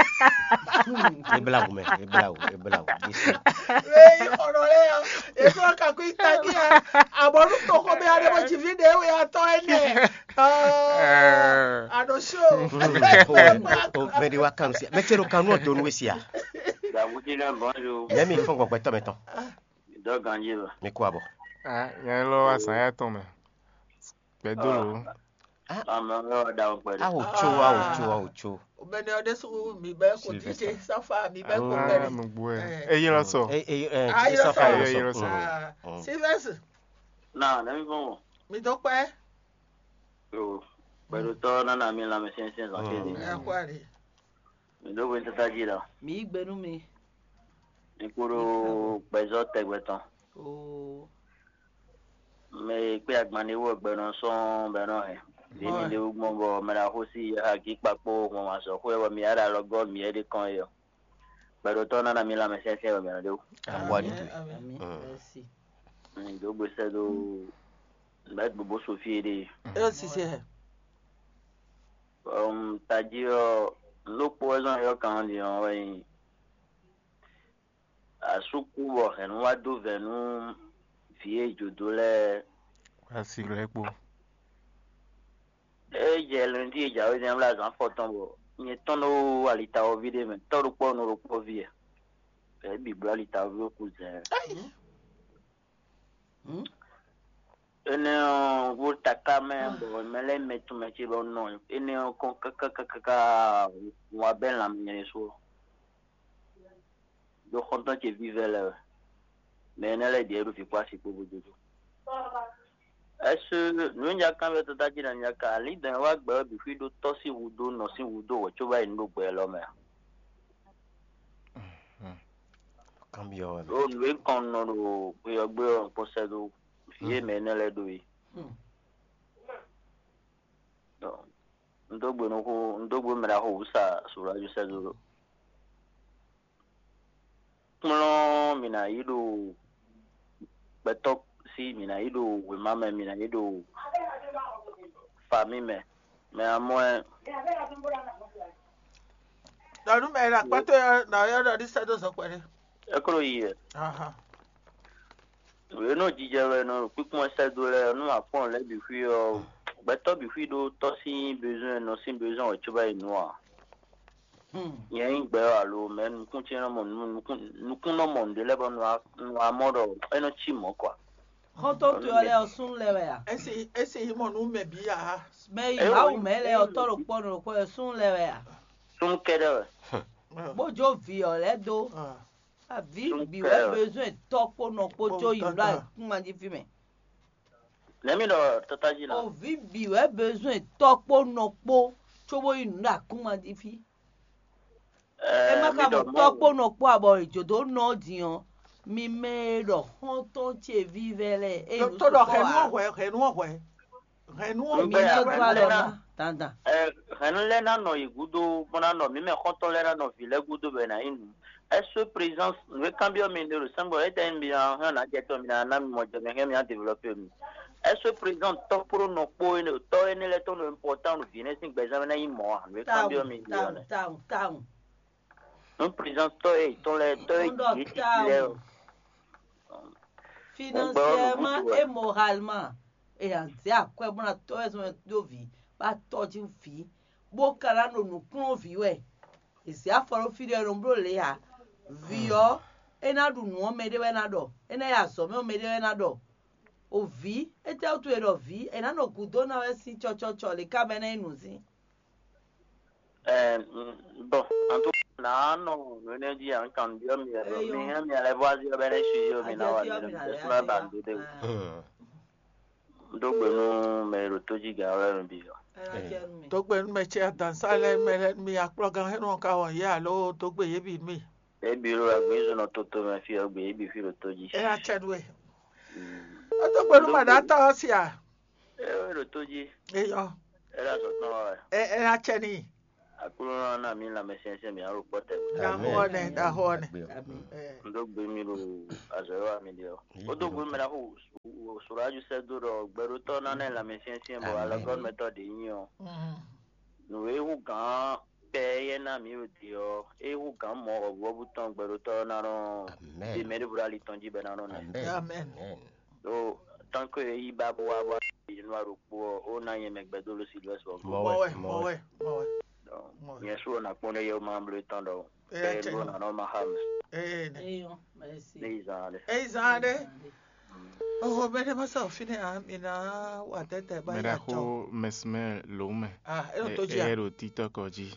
E blawu mɛ, e blawu, e blawu. Mɛ yi xɔrɔ lɛ yɔ. E sɔ ka kú itaki ya. Abɔnu to xɔ mɛ ya de bɔ ci vi de we atɔ ɛnɛ. Ah, Eh. Aɖo so. O mɛ ɖi wa kan si. Mɛ ce ɖo kan nú ɔ donu we sia. Dabutina, bonjour. Nyɛ mi fɔn gbɔgbɛ tɔ mɛ tɔn. Dɔ ganji ba. Mi kú abɔ. Ah, nyɛ lɔ wa sàn yà tɔn mɛ. Gbɛdó lo. Ame lɔ da o gbɛdó. Awo tso, awo tso, awo tso. Obɛnɛ ɔdɛ su mi bɛ ko Sylvester. Tite safa mi bɛ ko Ah, bɛrɛ. Nugbo ɛ. Eh. Eye lɔ sɔ. E e e Ah, e sɔ fa yɔ yɔ sɔ. Yɔ sɔ. Mm. Ah, Mm. Sylvester, Na, na mi fɔn. Mi dɔ kpɛ. Yo. Gbɛdó tɔ nana mi la mi sɛnsɛn zan Mm. kele. Ɛ kɔ ali. Mi do wɛn tata ji la. Mi yí gbe nú mi. Mi kúrò gbɛzɔ tɛgbɛ tɔn. Oo. Mɛ e kpé agban ní wɔ gbɛ nɔ sɔn bɛ nɔ hɛn. Bí mi Bɔn. Ɖe wú gbɔn bɔ mɛ ɖe axó sí agi kpakpó gbɔn ma sɔ xó ɛ bɔ mi ara lɔ gɔ mi ɛ ɖe kɔn yɔ. Gbɛɖotɔ nana mi lanmɛ sɛnsɛn bɔ mɛ nɔ ɖe wú. Awa ɖi Amen, to. Amen. Mm. Merci. Mi do gbèsè do bɛ gbogbo Sophie ɖe. E o sise hɛ. Um, tají ɔ, lókpó wɛ zɔn yɔ kan ɖi ɔ wɛ nyi. Asúkú bɔ hɛ̌nnu wá dó vɛ̌ nú vǐ e jǒ dó lɛ́ɛ. Asi lɛ́ɛ kpó. É jɛ lundi e jǎwe zɛ́n wlá zǎn fɔtɔn bɔ nyɛ tɔn ɖó alitawɔví ɖé mɛ, tɔ́ ɖokpó nɔ ɖokpó ví ɛ. Bɛ̌ bǐ bló alitawɔví ɖó kú zɛ̌n. Hmm? Énɛ́ ɔ́, wó taká mɛ bɔ mɛ lɛ́ɛ mɛ tún mɛ ce bɔ nɔ énɛ́ ɔ́ kɔn káká káká ká wá bɛ́ lanmɛ nyɛ ɖésú ɔ́. Ɖó xɔ́ntɔn ce vívɛ́ lɛ́ɛ wɛ. Mɛ énɛ́ lɛ́ɛ ɖíe ɖo vǐ kpó asi kpó bó dó dó. Ɛsɛ nǔnyakanvɛ tata jí na nyaka alídɛn wá gbɛ ɔ́ bǐ xwí ɖó tɔ́ sín hudó nɔ sín hudó wɛ có bá yi nǔ ɖo gbɛ élɔ́ mɛ a? Kanbyɔ́ wɛ mɛ. Ɖo nǔ e kɔn nɔ ɖo xwe ɔ́ gbé ɔ́ kpɔ́ sɛ́ dó vǐ e mɛ énɛ́ lɛ́ɛ ɖó é. Hmm. Donc, un dó gbe nú xó, un dó gbe mɛ ɖaxó wǔ sa Sowlajo sɛ́ dó ɖo. Kplɔ́n mǐ ná yi ɖo gbɛtɔ́ sí, mǐ ná yi ɖo wěma mɛ, mǐ ná yi ɖo famí mɛ. Mɛ amɔ ɛ. Ɖɔ nú mɛ e ɖo akpá towe ɔ́, nɔ ɔ́ ɖɔ ní sɛ́ dó zɔn kpɛɖé. É kó yi wɛ. Ahan. Wě nɔ jijɛ wɛ nɔ kpíkpɔ́n sɛ́ dó lɛ́ɛ nú akpɔ́n lɛ́ɛ bǐ xwí ɔ́, gbɛtɔ́ bǐ xwí ɖó tɔ́ sín bezɔn nɔ sín bezɔn wɛ cóbá yi nǔ ǎ. Hmm. Nyɛ nyí gbɛ ɔ́ alo mɛ nukún ce nɔ mɔ nukún nukún nɔ mɔ nǔɖé lɛ́ɛ bɔ nu amɔ ɖɔ é nɔ cí mɔ̌ kɔ. Xɔ́ntɔn towe ɔ́ lɛ́ɛ ɔ́ súnnu lɛ́ɛ wɛ a? Esi esi yi mɔ nú mɛ bǐ a? Mɛ yi Eo, Mawu mɛ lɛ́ɛ ɔ́ tɔ́ ɖokpɔ́ nɔ ɖokpɔ́ ɔ́ súnnu lɛ́ɛ wɛ a? Súnnu kɛ́ɖɛ́ wɛ. Bó jó vǐ ɔ́ lɛ́ɛ dó. Ah. Vǐ Súnnu bǐ wɛ kɛ́ɖɛ́ wɛ. Bezɔn tɔ́ kpó nɔ kpó Kpó jó yi nɔ ɖo tata. Akúnmajífí mɛ. Nɛ̌ mi ɖɔ tata jí na? O vǐ bǐ wɛ bezɔn tɔ́ kpó nɔ kpó cóbó yi nǔ ɖo akúnmajífí. É má Ɛɛ, mi ka ɖɔ mɔ tɔ́ kpó nɔ kpó abɔ jǒdó nɔ ɔ́ din ɔ́, mi mɛ e ɖɔ xɔ́ntɔn ce vívɛ́ lɛ́ɛ é Tó nǔ tó ɖɔ sukpɔ́ hɛ̌nú ǎ. Ɔ́ hwɛ, hɛ̌nú ɔ́ hwɛ, hɛ̌nú ɔ́ Mi Ŋgbɛ nya ya dó alɔ hwɛ. Ná. Dandan. Ɛ, hɛ̌nnu lɛ́ɛ ná nɔ yi gúdo bó ná nɔ mǐ mɛ xɔ́ntɔn lɛ́ɛ ná nɔ vǐ lɛ́ɛ gúdo bɔ è nǎ nyí nǔ. Ɛ́ sú présence nǔ e kanbyɔ́ mi ɖe ɖo sɛ́ngbɔ étɛ́ mi ná hɛn ná jɛ tɔn mi ná ná mi mɔ jɛ mi hɛn mi ná développé mi. Ɛ́ sú présence tɔ́ kpó nɔ kpó énɛ́ tɔ́ énɛ́ lɛ́ɛ tɔn ɖo important ɖo vǐ énɛ́ sín gbɛzán mɛ ná nyí mɔ̌ ǎ. Nǔ e Tawun, kanbyɔ́ mi ɖe ɔ́ tawun, nɛ. Tawun, tawun. Nú présence tɔ́ e tɔn lɛ́ɛ tɔ́ e Wọ́n ɖɔ jǐ títí lɛ́ɛ tawun. Financièrement et moralement. Et en zé akwɛ bó ná tɔ́ wɛ zɔn dó vǐ, bá tɔ́jú vǐ, bó ka ná ɖo nǔ kplɔ́n vǐ wɛ. È zě afɔ ɖó fí ɖé ɔ́, è nɔ bló lě ǎ. Vǐ ɔ́, é ná ɖu nǔ ɔ́, mɛ ɖé wɛ ná ɖɔ; é ná yi azɔ̌ mɛ ɔ́, mɛ ɖé wɛ ná ɖɔ. O vǐ, étɛ́ wútu è ɖɔ vǐ? È nǎ nɔ gǔdo ná wɛ sín cɔcɔcɔ lě ká mɛ ná nyí nǔzín. Ɛɛ, mm, bon, en tout cas, nǎ nɔ nǔ énɛ́ jí ǎ, un kan byɔ́ mi wɛ ɖɔ Eyɔ. Mi hɛn mi alɛ vɔ azí ɔ́ bɔ é ná suivi mi ná wa mi lɛ mi tɛ súnmọ́ ba nǔ ɖé. Hmm. Un dó gbe nú mɛ e ɖo tó jí gǎn wɛ mi bǐ ɔ́. Tó gbe nú mɛ ce adǎnsá lɛ́ɛ mɛ lɛ́ɛ mi akplɔ́gán hɛn nɔ ka wɔn yě alo dó gbe yě bǐ mi. Ebi ɖo agbǐnzɔnnɔ toto mɛ fí ɔ́ gbe ebi fí ɖo tó jí. É ná cɛ nú we. Mm. Ó tó gbe nú mɛ ɖǎtɔ́ ɔ́ sia. É ɖo tó jí. Eyɔ. É ɖo azɔ̌ tɔn wa wɛ. Ɛ ɛ ná tsɛ n'i. Aklúnɔ ná mí lanmɛsyɛnsyɛn mǐ alɔ kpɔ́ tɛgbɛ. Ɖaxó ɔ́ nɛ, ɖaxó ɔ́ nɛ. Ɛ. Un dó gbe mì ɖo azɔ̌ e wa mì ɖe ɔ́. Ó dó gbe mì ɖaxó Surajú sɛ́ dó ɖɔ gbɛɖótɔ́ ná ná lanmɛsyɛnsyɛn bɔ alɔgɔ́numɛtɔ́ ɖě nyí ɔ́. Nǔ e hú gǎn kpɛ éyɛ́ ná mǐ ɖo din ɔ́, é hú gǎn mɔ̌ wɔ̌buwɔ́bú tɔn gbɛɖótɔ́ ná nɔ ɖe mɛ ɖěvo ɖo ali tɔn jí bɔ é ná nɔ nɛ. Amɛn. Ɖó tɔ́nkɔ e yí ba bó wá bó wá yi nú aɖokpó ɔ́, ó ná nyɛ mɛ gbɛdó ló Silvɛ́si ɔ́. Mɔwɛ, mɔwɛ, mɔwɛ. Nyɛ sú ɔ́ ná kpɔ́n ɖé yɛ ó má bló tɔn ɖɔ Eyá bɛ́ cɛ ló nɔ. Nǎ nɔ má xa mɛ. Ee nɛ. Eyɔ, mɛsi. Ní yi zan ɖé. Eyi zan ɖé. Oho bɛ ɖe ma sa ofine a mi na wa tɛtɛ ba ya Mɛɖaxó tɔ. Mɛsimɛ lǒmɛ. Ah, e ɖo tó jí a. Ɛ ɖo títɔ́ kɔ jí.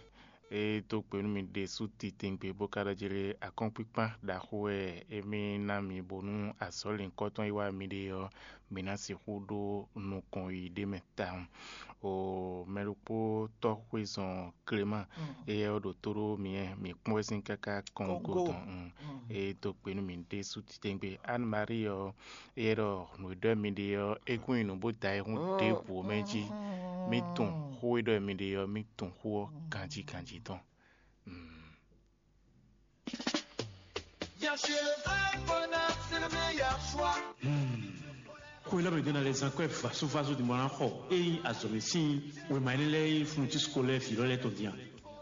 E dó gbe nú mi ɖésú titewungbe bó ka ɖɔ jí lé akɔ́nkpíkpán ɖaxó wɛ émí ná mi bónú azɔ̌ lǐnkɔ́tɔn e wá mi ɖe ɔ́, mi ná sixú ɖó nukɔn yi ɖ'é mɛ tawun. O mɛ ɖokpó tɔ́xwézɔn Clément, éyɛ́ ɔ́ ɖo tó ɖó myɛ, mǐ kpɔ́n wɛ sín káká kɔn Kɔn go go. Tɔn. Mm. Mm. E dó gbe nú mi ɖésú titewungbe Anne Marie ɔ́, éyɛ́ ɖɔ nǔ e ɖɔ mi ɖe ɔ́, é kún nyí nǔ bó da ayihún ɖěbǔ ɔ́ mɛ jí. Mí tunwun xó e ɖɔ mi ɖe ɔ́, mí tunwun xó ɔ́ ganjí ganjí tɔn. Mm. Bien sûr, le vrai bonheur, c'est le meilleur choix. Xwe lɔ mɛ ɖé ná lɛ́ zán kɔ́ ɛ vasovaso din bɔ ná xɔ ényí azɔ̌mɛ sín wěma énɛ́ lɛ́ɛ nyí fourniture scolaire vǐ lɔ lɛ́ɛ tɔn din a?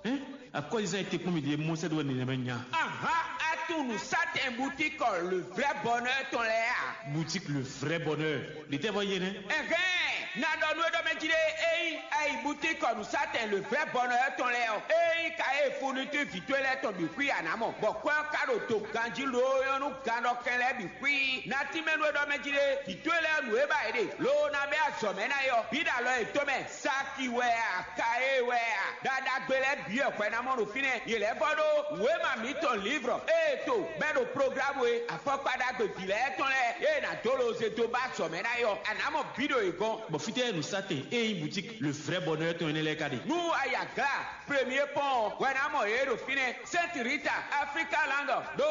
Hɛn, akɔ́zizán e te kpɔ́n mi ɖie mɔ sɛ́ ɖó wɛ nɛnɛmɛ nya. Aha, atunnu satɛn butikɔ le vrai bonheur tɔn lɛ́ɛ a? Boutique le vrai bonheur. Ɖětɛ́ vɔ yé nɛ́? Ɛhɛn, na ɖɔ nú é ɖɔ mɛ jí ɖé, ényí ayi butikɔ nǔsatɛn le vrai bonheur tɔn lɛ́ɛ ɔ́, ényí ka ée fourniture vǐ towe lɛ́ɛ tɔn bǐ xwí a nǎ mɔ, bɔ kwɛ́ ɔ́ ka ɖo do ganjí loo nyɔ́ nú gannɔkɛn lɛ́ɛ bǐ xwí. Na tínmɛ nú é ɖɔ mɛ jí ɖé, vǐ towe lɛ́ɛ nǔ e ba yě ɖe, loo ná bɛ́ azɔ̌mɛ ná é ɔ́, bǐ ɖo alɔ yětɔn mɛ. Saki wɛ a, Kaye wɛ a, ɖaɖagbe lɛ́ɛ bǐ wɛ hwɛ ná mɔ ɖo fínɛ́. Yě lɛ́ vɔ ɖó wěma mǐtɔn Livrɔ ée to bɛ́ ɖo programu e afɔkpa ɖagbe vǐ lɛ́ɛ tɔn lɛ́ɛ e è nǎ dó loze dó ba azɔ̌ mɛ ná é ɔ́, a nǎ mɔ bǐ ɖo yě gɔ́n. Bɔ fítɛ́ nǔsatɛn e nyí boutique le vrai bonheur tɔn énɛ́ lɛ́ɛ ka ɖe? Nú a yi Agla, Premier Pont wɛ ná mɔ yě ɖo fínɛ́. Sainte Rita, Africa Land, ɖo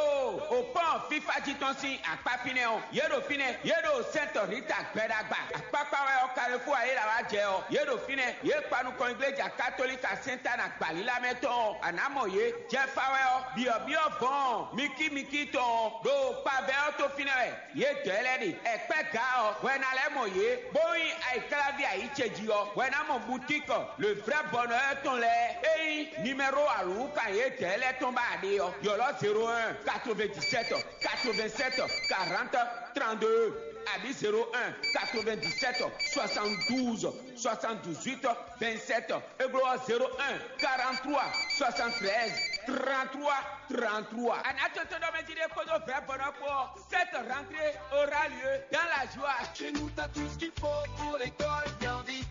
o pɔ́n fífá jí tɔn sín akpá fínɛ́ ɔ́, yě ɖo fínɛ́, yě ɖo Sainte Rita gbɛɖagba. Akpákpá wɛ ɔ́, Carrefour ayéla wá jɛ ɔ́, yě ɖo fínɛ́, yě kpa nukɔn igleja katolika Sainte Anne agbalílá mɛ tɔn ɔ́, a nǎ mɔ yě. Jɛfa wɛ ɔ́, byɔ̌byɔ́ vɔ̌n mikímikí tɔn ɔ́, ɖo kpavɛ ɔ́ tó fínɛ́ wɛ. Yě dɔ̌ lɛ́ɛ ɖe. Ɛkpɛ́ ga ɔ́, hwɛ ná lɛ́ mɔ yě, bó nyí ayǐkláví ayǐ ce jí ɔ́, hwɛ ná mɔ butíkɔ le vrɛ́ bɔnɔ ɔ́ tɔn lɛ́ɛ. É nyí nimɛ́ro alǔwúkan yě dɔ̌ lɛ́ɛ tɔn ba ɖe ɔ́, ylɔ́ zéro un, quatre-vingt-dix-sept, quatre-vingt-sept, quarante, trente-deux, abǐ zéro un, quatre-vingt-dix-sept, soixante-douze, soixante-dix-huit, vingt-sept. É glɔ́ ɔ́, zéro un, quarante-trois, soixante-treize, trente-trois, trente-trois. A nǎ tɔ́n tɔ́n ɖɔ mɛ jí ɖé kpódó vɛ̌ bɔnɔ kpó ɔ́. Cette rentrée aura lieu dans la joie. Chez nous, t'as tout ce qu'il faut pour l'école bien vite.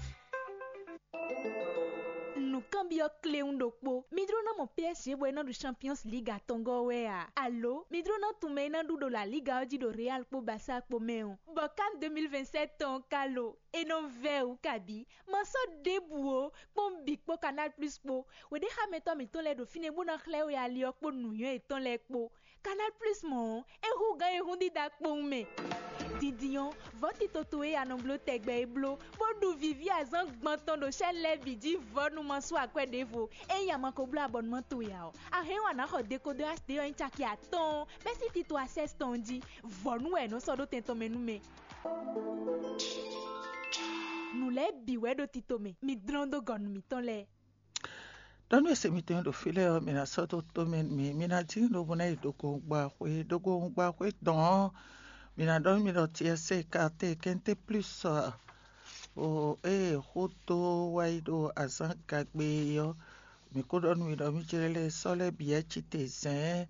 Nǔkanbyɔ́ kléwún ɖokpó. Mi jló ná mɔ P S G bɔ é ná ɖu Champions League atɔngɔ́ wɛ a? Alo mi jló ná tunwun mɛ e ná ɖu ɖo La Liga ɔ́ jí ɖo Real kpó Barça kpó mɛ ɔ́? Bɔ CAN deux mille vingt-sept tɔn ka lo? É nɔ vɛ́ wǔ kabǐ. Ma sɔ́ ɖěbǔ ó, kpɔ́n bǐ kpó Canal Plus kpó. Wěɖéxámɛtɔ́ mǐtɔn lɛ́ɛ ɖo fínɛ́ bó ná xlɛ́ we ali ɔ́ kpó nǔnywɛ́ yětɔn lɛ́ɛ kpó. Canal Plus mɔ̌ ɔ́, é hú gǎn e hún dídá kpowun mɛ. Dindin ɔ́, vɔ̌ tito towe e a nɔ bló tɛgbɛ é bló, bó ɖu vǐví azǎn gbɔn tɔn ɖo chaîne lɛ́ɛ bǐ jí vɔ̌ nú ma sú akwɛ́ ɖěvo. Ényí a ma ko bló abɔnumán towe ǎ ɔ́, a hɛn ɔ́ a nǎ xɔ dekodɔ H D ɔ́ nyí caki atɔ́ɔ́n bɛ́ sín tito Access tɔn jí. Vɔ̌ nú wɛ è nɔ sɔ́ ɖó tɛn tɔn mɛ nú mɛ. Nǔ lɛ́ɛ bǐ wɛ ɖo tito mɛ, mi dlɔ́n dó gɔ̌ nú mǐtɔn lɛ́ɛ. Ɖɔ nú e se mitɔn e ɖo fí lɛ́ɛ ɔ́, mi ná sɔ́ dó tó mɛ nú mì, mi ná dín lobo ná yi ɖogohun gba xwé. Ɖogohun gba xwé dɔn ɔ́, mi ná ɖɔ nú mi ɖɔ tiɛsé kate kɛnté plus ɔ, ée xó dó wá yi ɖo azǎn gagbe é ɔ́, mi ko ɖɔ nú mi ɖɔ mì jlɛ́ lɛ́ɛ sɔ́ lɛ́ bǐ wɛ ci te zɛ̌n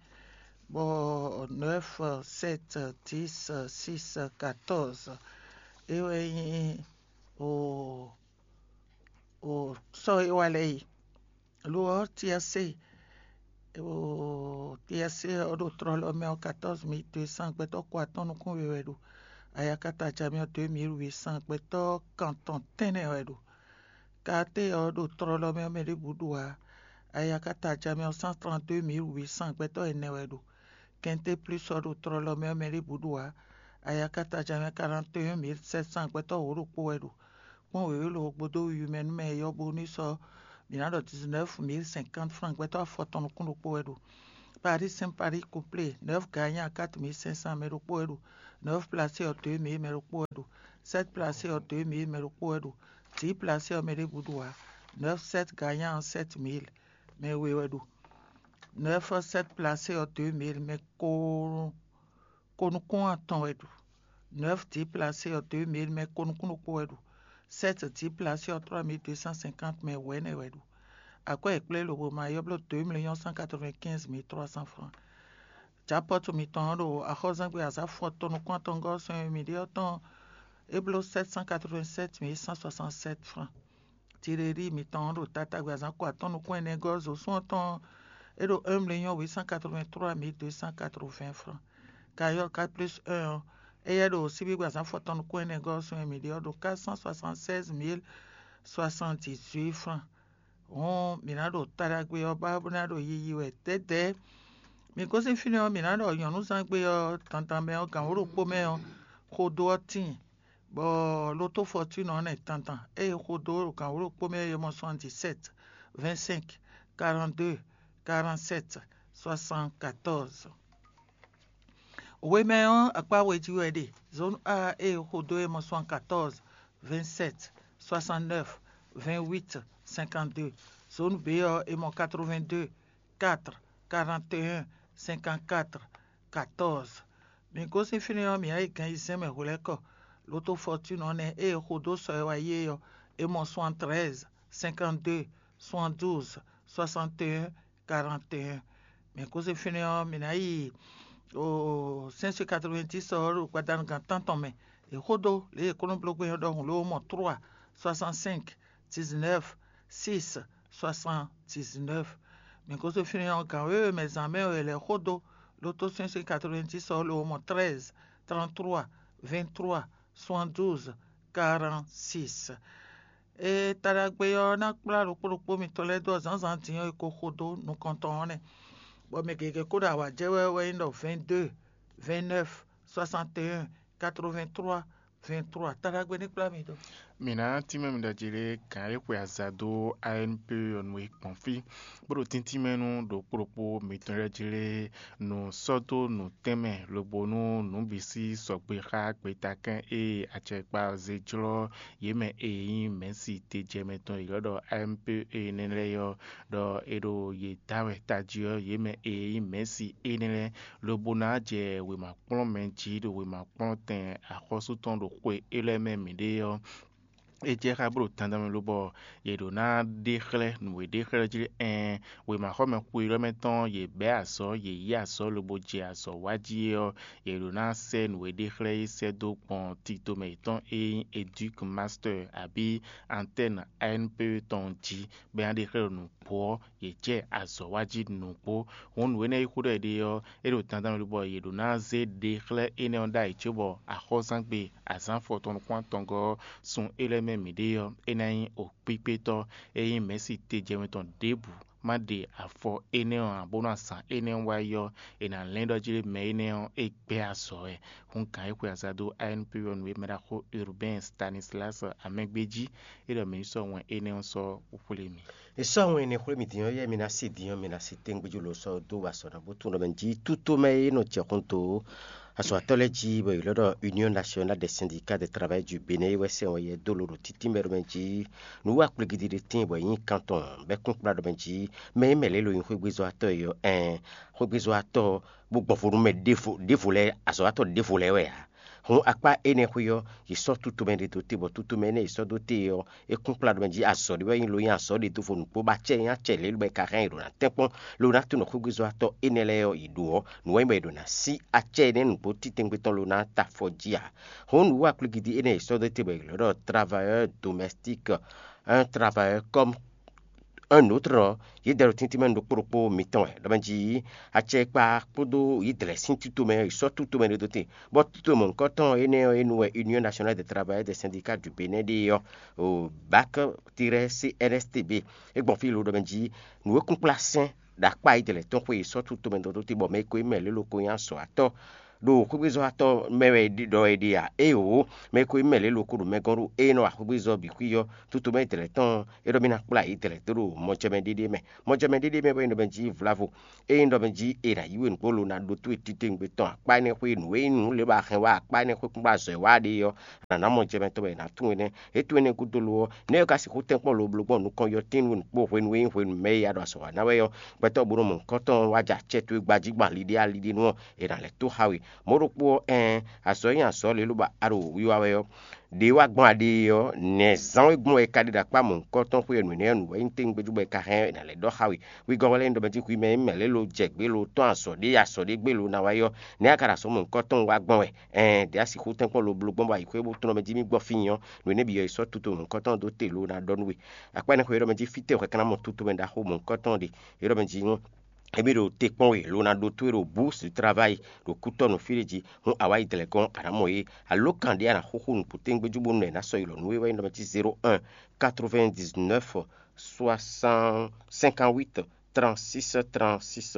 bɔ neuf, sept, dix, six, quatorze é wɛ nyí o o sɔ́ e wá lɛ́ɛ yi. Lo ɔ́, tiɛsé o tiɛsé ɔ́ ɖo tlɔlɔ mɛ ɔ́, quatorze mille deux cents gbɛtɔ́ ko atɔ́n nukún we wɛ ɖo. Ayakata jamɛ ɔ́, deux mille huit cents gbɛtɔ́ kantɔn tɛ́nnɛ wɛ ɖo. Katé ɔ́ ɖo tlɔlɔ mɛ ɔ́, mɛ ɖěbǔ ɖu ǎ. Ayakata jamɛ ɔ́, cent trente-deux mille huit cents gbɛtɔ́ ɛnɛ wɛ ɖo. Kɛnté plus ɔ́ ɖo tlɔlɔ mɛ ɔ́, mɛ ɖěbǔ ɖu ǎ. Ayakata jamɛ quarante et un mille sept cents gbɛtɔ́ wǒ ɖokpó wɛ ɖo. kpɔ́n wěwé lo gbódó wiwi mɛ nú mɛ e yɔ́ bónú sɔ́ mǐ ná ɖɔ dix-neuf mille cinquante francs gbɛtɔ́ afɔtɔn nukún ɖokpó wɛ ɖo. Paris Saint Paris couplé, neuf gagnant quatre mille cinq cents mɛ ɖokpó wɛ ɖo. Neuf placé ɔ́ deux mille mɛ ɖokpó wɛ ɖo. Sept placé ɔ́ deux mille mɛ ɖokpó wɛ ɖo. Dix placé ɔ́ mɛ ɖěbǔ ɖo ǎ. Neuf sept gagnant ɔ́ sept mille mɛ we wɛ ɖo. Neuf sept placé ɔ́ deux mille mɛ ko ko nukún atɔn wɛ ɖo. Neuf dix placé ɔ́ deux mille mɛ ko nukún ɖokpó wɛ ɖo. Sept dix placé ɔ́ trois mille deux cent cinquante mɛ wɛ̌nɛ wɛ ɖo. Akwɛ́ e kplé lobo ma yɔ́ bló deux millions cent quatre-vingt-quinze mille trois cents francs. Japɔ́tu mitɔn ɔ́ ɖo axɔ́zɛ́ngbe azǎn fɔtɔn nukún atɔngɔ́ sɔn e mǐ ɖe ɔ́ tɔn é bló sept cent quatre-vingt-sept mille cent soixante-sept francs. Tireli mitɔn ɔ́ ɖo tatágbé azǎn ko atɔ́n nukún ɛnɛ gɔ́ zosún ɔ́ tɔn é ɖo un million huit cent quatre-vingt-trois mille deux cent quatre-vingts francs. Kayɔ́ quatre plus un ɔ́, éyɛ́ ɖo síbígbe azǎn fɔtɔn nukún ɛnɛ gɔ́ sɔn e mǐ ɖe ɔ́ ɖo quatre cent soixante-seize mille soixante-dix-huit francs. Hɔn mǐ ná ɖo taɖagbe ɔ́ ba bó ná ɖo yiyi wɛ dɛ̌dɛ̌. Mǐ gosín fínɛ́ ɔ́, mǐ ná ɖɔ nyɔ̌nuzángbe ɔ́ dandan mɛ ɔ́, gǎn wǒ ɖokpó mɛ ɔ́, xodó ɔ́ tíin, bɔ loto fɔtúnɔ ɔ́ nɛ́ dandan. Ée xodó ɖo gǎn wǒ ɖokpó mɛ ɔ́, è mɔ soixante-dix-sept, vingt-cinq, quarante-deux, quarante-sept, soixante-quatorze. Wemɛ ɔ́, akpá we jí wɛ ɖe. Zone A ée xodó é mɔ soixante-quatorze, vingt-sept, soixante-neuf, vingt-huit, cinquante-deux. Zone B ɔ́, é mɔ quatre-vingt-deux, quatre, quarante et un, cinquante-quatre, quatorze. Mǐ gosín fínɛ́ ɔ́, mǐ ná yi gan ayizɛ́n mɛ hwelɛ́kɔ. Loto fɔtúnɔ ɔ́ nɛ́ ée xodó sɔ e wá yi é ɔ́, é mɔ soixante-treize, cinquante-deux, soixante-douze, soixante et un, quarante et un. Mǐ gosín fínɛ́ ɔ́, mǐ ná yi cinq cent quatre-vingt-dix ɔ́ ɖo gbadanu gan tántɔn mɛ. È xodó lě e kónɔblógbé ɔ́ ɖɔhun ló mɔ trois, soixante-cinq, dix-neuf, six, soixante-dix-neuf. Mǐ gosín fínɛ́ ɔ́, gǎn wěwe mɛ zǎn mɛ wɛ è lɛ̌ xodó. Loto cinq cent quatre-vingt-dix ɔ́ ló mɔ treize, trente-trois, vingt-trois, soixante-douze, quarante-six. Ee, taɖagbe ɔ́ ná kplá ɖokpó ɖokpó mitɔn lɛ́ɛ dó zǎnzǎn din ɔ́, è ko xo dó nukɔntɔn ɔ́ nɛ́, bɔ mɛ gěgé kó ɖo awǎ jɛ wɛ wɛ nyí ɖɔ vingt-deux, vingt-neuf, soixante et un, quatre-vingt-trois, vingt-trois. Taɖagbe ní kplá mi dó. Mǐ ná tínmɛ mi ɖɔ jí lé gǎn e xwe aza dó A N P ɔ́ nu e gbɔn fí, bó ɖo tíntín mɛ nú ɖokpó ɖokpó mitɔn lɛ́ɛ jí lé nǔ sɔ́ dó nǔtɛ́nmɛ, lobo nú nǔ bǐ sí sɔgbe xá gbetakɛ́n e acɛkpa zé jlɔ́ yě mɛ e nyí mɛ̌si tejɛmɛ tɔn e ylɔ́ ɖɔ A M P énɛ́ lɛ́ɛ ɔ́, ɖɔ è ɖo yě da wɛ tají ɔ́, yě mɛ e nyí mɛ̌si énɛ́ lɛ́ɛ, lobo ná jɛ wěma kplɔ́n mɛ jí ɖo wěma kplɔ́n tɛn axɔ́sú tɔn ɖo xwe élɔ́ mɛ mǐɖée ɔ́. É jɛ xá bló dandan mɛ lobɔ yě ɖǒ ná ɖe xlɛ́ nǔ e ɖe xlɛ́ jí ɛn wěmaxɔmɛ xweyɔ́mɛ tɔn yě bɛ́ azɔ̌, yě yí azɔ̌ lobo jɛ azɔ̌ wa jí é ɔ́, yě ɖǒ ná sɛ́ nǔ e ɖe xlɛ́ é sɛ́ dó gbɔn tito mɛ yětɔn e nyí Educ Master abǐ Antenne A N P tɔn jí, bɔ é ná ɖe xlɛ́ ɖo nǔgbó ɔ́, yě jɛ azɔ̌ wa jí nǔgbó. Hǔn nǔ énɛ́ e xó ɖɔ è ɖe ɔ́, é ɖo dandan mɛ lobɔ yě ɖǒ ná zé ɖe xlɛ́ énɛ́ ɔ́ ɖ'ayǐ cóbɔ axɔ́zán gbe azǎn afɔtɔn nukún atɔngɔ́ ɔ́, sun é lɛ́ɛ mɛ mǐɖée ɔ́, é ná nyí okpíkpétɔ́ e nyí mɛ̌si tejɛmɛ tɔn ɖěbǔ ma ɖe afɔ énɛ́ ɔ́ ǎ, bónú azǎn énɛ́ ɔ́ wá yi ɔ́, è nǎ lɛ́n ɖɔ jí mɛ énɛ́ ɔ́ é gbɛ́ azɔ̌ wɛ. Hǔn gǎn e xwe aza dó A N P ɔ́ nu e mɛ ɖaxó Urbain Stanislas Amɛgbéjí é ɖɔ mǐ ní sɔ́ wɛn énɛ́ ɔ́ sɔ́ xwlé mì. È sɔ́ wɛn énɛ́ xwlé mì din ɔ́, yɛ mi ná se din ɔ́, mi ná se tɛ́ngbéjú lo sɔ́ dó wa sɔ̌ ná bó tunwun ɖɔ mɛ jí tútomɛ e nɔ jɛ xɔ́ntó azɔ̌watɔ́ lɛ́ɛ jí bɔ è ylɔ́ ɖɔ Union Nationale des Syndicats de Travail du Bénin é wɛ sɛn wɛ yɛ dó lo ɖo títí mɛ ɖɔ mɛ jí nǔ wa kplégídí ɖé tíin bɔ è nyí kan tɔn bɔ é kún kplá ɖɔ mɛ jí mɛ e mɛ lě lo nyí xwégbézɔ́watɔ́ e ɔ́, ɛn xwégbézɔ́watɔ́ bó gbɔn vo nú mɛ ɖěvo ɖěvo lɛ́ɛ, azɔ̌watɔ́ ɖěvo lɛ́ɛ wɛ ǎ. Hǔn akpá énɛ́ xwé ɔ́, yě sɔ́ tutomɛ ɖé dó te, bɔ tutomɛ énɛ́ yě sɔ́ dó te ɔ́, é kún kplá ɖɔ mɛ jí azɔ̌ ɖé wɛ nyí lo nyí azɔ̌ ɖé dó vo nǔgbó bɔ acɛ nyí acɛ lě lobɔ è ka hɛn yě ɖo ná tɛ́nkpɔ́n lo ná tunɔ xwégbézɔ́watɔ́ énɛ́ lɛ́ɛ ɔ́, yě ɖó ɔ́, nǔ wɛ nyí bɔ è ɖo ná sí acɛ énɛ́ nǔgbó títɛngbé tɔn lo ná ta afɔ jí ǎ. Hǔn nǔ wa kplígídí énɛ́ yě sɔ́ dó te bɔ è ylɔ́ ɖɔ travailleur domestique, un travailleur comme un autre ɔ́, yě dɛ ɖo tíntín mɛ ɖokpó ɖokpó mitɔn wɛ ɖɔ mɛ jí acɛkpa kpódó yě dlɛ̌ sín tito mɛ, yě sɔ́ tito mɛ ɖé dó te, bɔ tito mɔ̌hunkɔtɔn énɛ́ ɔ́, é nu wɛ Union Nationale des Travailleurs des Syndicats du Bénin ɖe ɔ́, o bak tirɛ C N S T B. É gbɔn fí lo ɖɔ mɛ jí nǔ e kún kplá sɛn ɖo akpá yě dlɛ̌ tɔn xwe yě sɔ́ tito mɛ dó te, bɔ mɛ e ko nyí mɛ lě lo ko nyí azɔ̌watɔ́ ɖo xwégbézɔ́watɔ́ mɛ wɛ ɖɔ è ɖe a? Éeǒ, mɛ e ko nyí mɛ lě loko ɖo mɛ gɔ́n ɖo ée nɔ wa xwégbézɔ́ bǐ xwí ɔ́, tutomɛ dlɛ̌ tɔn ɔ́, é ɖɔ mì ná kplá yě dlɛ̌ dó ɖo mɔjɛmɛ ɖéɖé mɛ. Mɔjɛmɛ ɖéɖé mɛ wɛ nyí ɖɔ mɛ jí vlavo. Ényí ɖɔ mɛ jí è nǎ yí we nǔgbó lo ná ɖótó e titewungbe tɔn akpá énɛ́ xwé nǔ e nyí nǔ lě ba hɛn wá akpá énɛ́ xwé kún ba zɔ ɛ wá ɖe ɔ́, a nǎ ná mɔjɛmɛ tɔn bɔ è nǎ tunwun énɛ́. É tunwun énɛ́ gúdo lo ɔ́, nɛ̌ é ka sixú tɛ́nkpɔ́n loblógbɔn nukɔn yɔtín nú nǔkpó hwenu e nyí hwenu mɛ e a ɖo azɔ̌ wa ná wɛ ɔ́, gbɛtɔ́ bó nɔ mɔ nǔkɔntɔn wá jɛ acɛ towe gbají gbɔn ali ɖé ali ɖé nu ɔ́, è nǎ lɛ́ tó xa we. Mɔ̌ ɖokpó ɔ́, ɛɛn, azɔ̌ e nyí azɔ̌ lě lobo a ɖo wiwa wɛ ɔ́, ɖě wá gbɔn aɖe ɔ́, nɛ̌ zán wé gbɔn wɛ è ka ɖe ɖo akpá mɔ̌hunkɔtɔn xwé ɔ́ nǔ énɛ́ ɔ́ nǔ wɛ nyí tɛ́ngbɛ́ cóbɔ è ka hɛn ɔ́, è nǎ lɛ́ ɖɔ xá we. Wegɔ́ wɛ lɛ́ɛ nyí ɖɔ mɛ jí hwi mɛ e nyí mɛ lě lo jɛ gbě lo tɔ́n azɔ̌ ɖé azɔ̌ ɖé gbé lo ná wá yi ɔ́, nɛ̌ a ka ɖo azɔ̌ mɔ̌hunkɔtɔn wá gbɔn wɛ? Ɛɛn, ɖě a sixú tɛ́nkpɔ́n loblógbɔn bɔ ayǐxwé bó tlɔ́n mɛ jí mì gbɔ fí nyi ɔ́, nǔ énɛ́ bǐ ɔ́, è sɔ́ tuto mɔ̌hunkɔtɔn dó te lo ná ɖɔ nú we. Akpá énɛ́ xwé é ɖɔ mɛ jí fítɛ́ wɛ ka ná mɔ tutomɛ ɖaxó mɔ̌hunkɔtɔn ɖe? É ɖɔ mɛ jí émí ɖo te kpɔ́n we lo ná ɖótó e ɖo bǔ su travayi ɖo kútɔ́ nɔ fí ɖé jí, hǔn a wá yi dlɛ̌ gɔ́n a nǎ mɔ yě. Alǒkan ɖé a nǎ xúxú nǔgbó téŋgbéjú bónú nɛ̌ ná sɔ́ yi lɔ nǔ e wɛ nyí ɖɔ mɛ jí zéro un quatre-vingt-dix-neuf soixante cinquante-huit trente-six trente-six,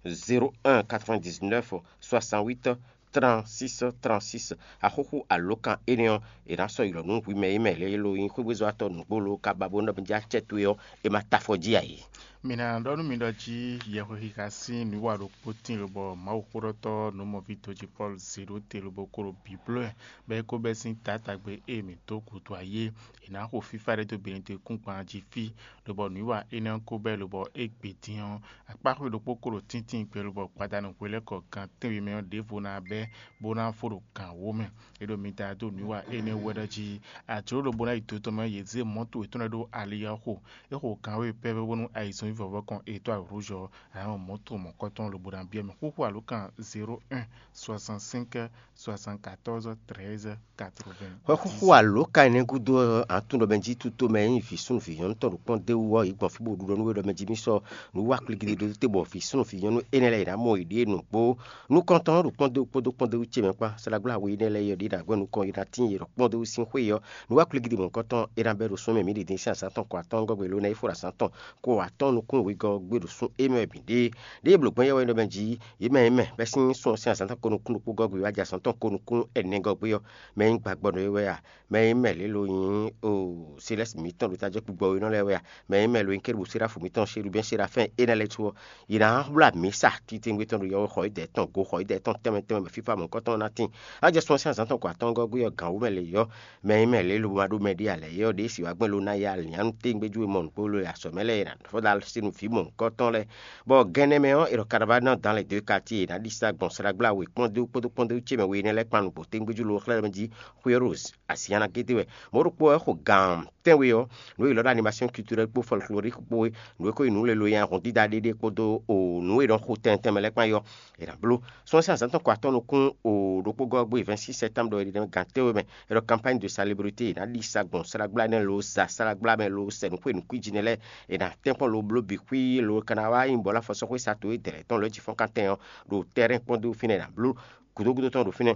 zéro un quatre-vingt-dix-neuf soixante-huit trente-six trente-six. Axúxú alǒkan énɛ́ ɔ́, è nǎ sɔ́ yi lɔ nú hwi mɛ e mɛ lě e lo nyí xwégbézɔ́watɔ́ nǔgbó lo ka ba bó nɔ bǐ jɛ acɛ towe ɔ́, è ma ta afɔ jí ǎ é. Mi ná ɖɔ nú mi ɖɔ jí yɛhwexixa sín nǔwiwa ɖokpó tíin lobɔ Mawuxóɖɔtɔ́ nǔmɔví dojipɔ́lu zě ɖó te lobo kó ɖo bǐbló ɛ, bɔ é kó bɛ́ sín taátagbe e mǐ dó gǔdo ayé. È nǎ xo fífá ɖé dó Benɛtɔ́kúngban jí fí, lobɔ nǔwiwa énɛ́ ɔ́ ko bɛ́ lobɔ é gbe dín ɔ́, akpáxwé ɖokpó ko ɖo tíntín gbe lobɔ gbadanu hwelɛ́kɔ gan tɛ́nwe mɛ ɔ́ ɖěvo ná bɛ́ bó ná fó ɖo gan wǒ mɛ. É ɖo mi da dó nǔwiwa énɛ́ wú wɛ ɖɔ jí ajlǒ ɖokpó ná yi do tɔn mɛ yě zé mɔ̌to yětɔn lɛ́ɛ ɖó ali ɔ́ xo. É xo gan wěwe pɛ́pɛ́ bónú ayǐzɔ́n vívɔvɔ́ kɔn e tɔ́ awǔ rouge ɔ́, a nǎ mɔ mɔ̌to mɔ̌kɔtɔn lobo ná byɔ́ mɛ. Xúxú alǒkan zéro un soixante-cinq soixante-quatorze treize quatre-vingts. Xwɛxúxú alǒka énɛ́ gúdo ɔ́, a tunwun ɖɔ mɛ jí tutomɛ e nyí vǐ súnnu vǐ nyɔ́nu tɔn ɖo kpɔ́n d'é wú ɔ́, yě gbɔn fí bó ɖu ɖɔ nú we ɖɔ mɛ jí mì sɔ́ nǔ wa klikli ɖó te bɔ vǐ súnnu vǐ nyɔ́nu énɛ́ lɛ́ɛ yě ná mɔ yěɖée nǔgbó. Nukɔntɔn ɔ́ ɖo kpɔ́ndéwú kpódó kpɔ́ndéwú ce mɛ kpán. Saɖagbláwe énɛ́ lɛ́ɛ yɔ ɖě ná gbɛ́ nukɔn yi ná tíin yě ɖɔ kpɔ́ndéwú sín xwé ɔ́, nǔ wa klikli mɔ̌hunkɔtɔn é ná bɛ́ ɖo sún mɛ mǐ ɖi din sín azǎn tɔn kɔ atɔ́ɔ́ngɔ́ gbe ló ná yi fó ɖo azǎn tɔn kó atɔ́ɔ́n nukún wegɔ́ gbé ɖo sún émí wɛ bǐ ɖe. Ɖěe blǒ gbɔn yɛ wɛ nɔ mɛ jí yě mɛ e mɛ bɛ́ sín sún ɔ́ sín azǎn tɔn ko nukún ɖokpó gɔ́ gbe wá jɛ azǎn tɔn ko nukún ɛnɛ gɔ́ gbé ɔ́, mɛ e nyí gbagbɔ nɔ é wɛ a? Mɛ e nyí mɛ lě lo nyí o Selɛ́si mǐtɔn ɖo tajɛ kpugbɔ we nɔ lɛ́ɛ wɛ a? Mɛ e nyí mɛ lo nyí kérubǔ séráfu mǐtɔn Shelubɛ́n Serafɛ́n énɛ́ lɛ́ɛ su ɔ́, yě ná wlá mǐsa titewungbe tɔn ɖo yɔwexɔ yídɛɛ tɔn, goxɔ yídɛɛ tɔn tɛnmɛ tɛnmɛ mɛ fífá mɔ̌hunkɔtɔn ná tíin. Á jɛ sun ɔ́ sín azǎn tɔn ko atɔ́ɔ́ngɔ́ gbé ɔ́, gǎn wú mɛ lě yɔ́, mɛ e nyí mɛ lě lobo ma ɖó mɛ ɖé ǎ lɛ̌ é ɔ́, ɖě si wǎ gbɛn lo ná ya lǐnnyánú tégbéjú e mɔ nǔgbó lo e azɔ̌ mɛ lɛ́ɛ è nǎ fɔ dó así nú vǐ mɔ̌hunkɔtɔn lɛ́ɛ. Bɔ gɛnɛ mɛ ɔ́, è ɖɔ Caravane dans les deux quartiers, è nǎ ɖi sa gbɔn Saɖagbláwe kpɔ́ndéwú kpódó kpɔ́ndéwú ce mɛ we énɛ́ lɛ́ɛ kpan nǔgbó tégbéjú lo xlɛ́ mɛ jí xwé Rose asi nya ná gédé wɛ. Mɔ̌ ɖokpó ɔ́ xo gǎn tɛ́nwe ɔ́, nǔ e è ylɔ́ ɖó animation culturelle kpó folklorique kpó é, nǔ e ko nyí nǔ lelo nyi ahɔn dídá ɖéɖé kpódó o nǔ e nɔ xo tɛntɛn mɛ lɛ́ɛ kpán é ɔ́, è nǎ bló. Sɔ́ sín azǎn tɔn ko atɔ́ nukún o ɖokpó gɔ́ gbe vingt-six septembre ɖɔ è ɖo gǎn tɛ́nwe mɛ, è ɖɔ campagne de salubrité, è nǎ ɖi sa gbɔn Saɖagbla nɛ́ lo sa Saɖagbla mɛ lo sɛ nǔ xwe nǔkwíji nɛ́ lɛ́ɛ, è nǎ tɛ́nkpɔ́n lo bló bǐ xwí lo ka ná wá nyí bɔ̌ lafɔ sɔ́ xwé sa to e dɛ̌ tɔn lɔ̌ ji fɔ́n kan tɛn ɔ́ ɖo tɛ́rɛ́n kpɔ́ndó fínɛ́ è nǎ bló. Gǔdo gúdo tɔn ɖo fínɛ́.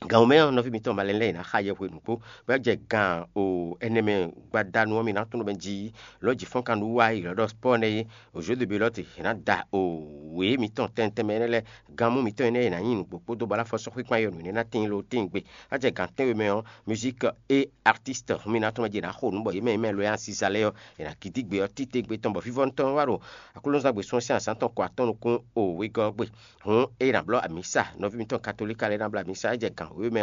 Gǎn wú mɛ ɔ́, nɔví mitɔn malɛnu lɛ́ɛ, è nǎ xa yɛhwe nǔgbó, bɔ é jɛ gǎn o ɛnɛ mɛ gbadanu ɔ́, mi ná tunwun mɛ jí lɔ̌ ji fɔ́n kan nú wá yi lɔ̌ ɖɔ spɔ́ nɛ́ é, o Jeu de Belote, è nǎ da o wě mitɔn tɛntɛn mɛ énɛ́ lɛ́ɛ, gǎn mú mitɔn énɛ́ è nǎ nyi nǔgbó kpódó bɔ ná fɔ sɔ́ xwíkpan yɔ nǔ énɛ́ ná tíin lo tíin gbe. Á jɛ gǎn tɛ́nwe mɛ ɔ́, musique et artiste, mi ná tunwun mɛ jí è nǎ xo nǔ bɔ yě mɛ e mɛ lo yá sísá lɛ́ɛ ɔ́, è nǎ gidí gbe ɔ́ títewungbe tɔn bɔ vívɔ́nu tɔn wá ɖo Aklúnɔzán gbe sɔ́ sín azǎn tɔn ko atɔ́ nukún o wegɔ́ ɔ́ gbe. Hǔn ényí è nǎ blɔ́ amǐsa, nɔví mitɔn katolíka lɛ́ɛ ná blɔ́ amǐsa, é jɛ gǎn wěwe mɛ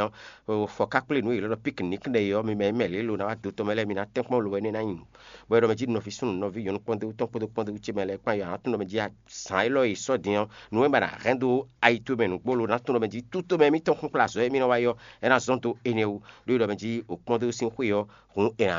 ɔ́, fɔ ká kplé nǔ e yě lɔ́ ɖɔ piknik ɖe é ɔ́, mi mɛ e mɛ lě lo ná wá do tɔn mɛ lɛ́ɛ, mi ná tɛ́nkpɔ́n lo wɛ énɛ́ ná nyi nǔ. Bɔ é ɖɔ mɛ jí nɔví súnnu nɔví nyɔ̌nu kpɔ́ndéwú tɔn kpódó kpɔ́ndéwú ce mɛ lɛ́ɛ kpán yɔ, a nǎ tunwun ɖɔ mɛ jí azǎn élɔ́ e è sɔ́ din ɔ́, nǔ e ma ɖo hɛn dó ayi towe mɛ nǔgbó lo ná tunwun ɖɔ mɛ jí tutó mɛ mitɔn xúnxlá azɔ̌ e mì nɔ wa yɔ, é ná zɔ́n dó énɛ́ wú. Ɖó é ɖɔ mɛ jí o kpɔ́ndéwú sín xwé ɔ́, hǔn è nǎ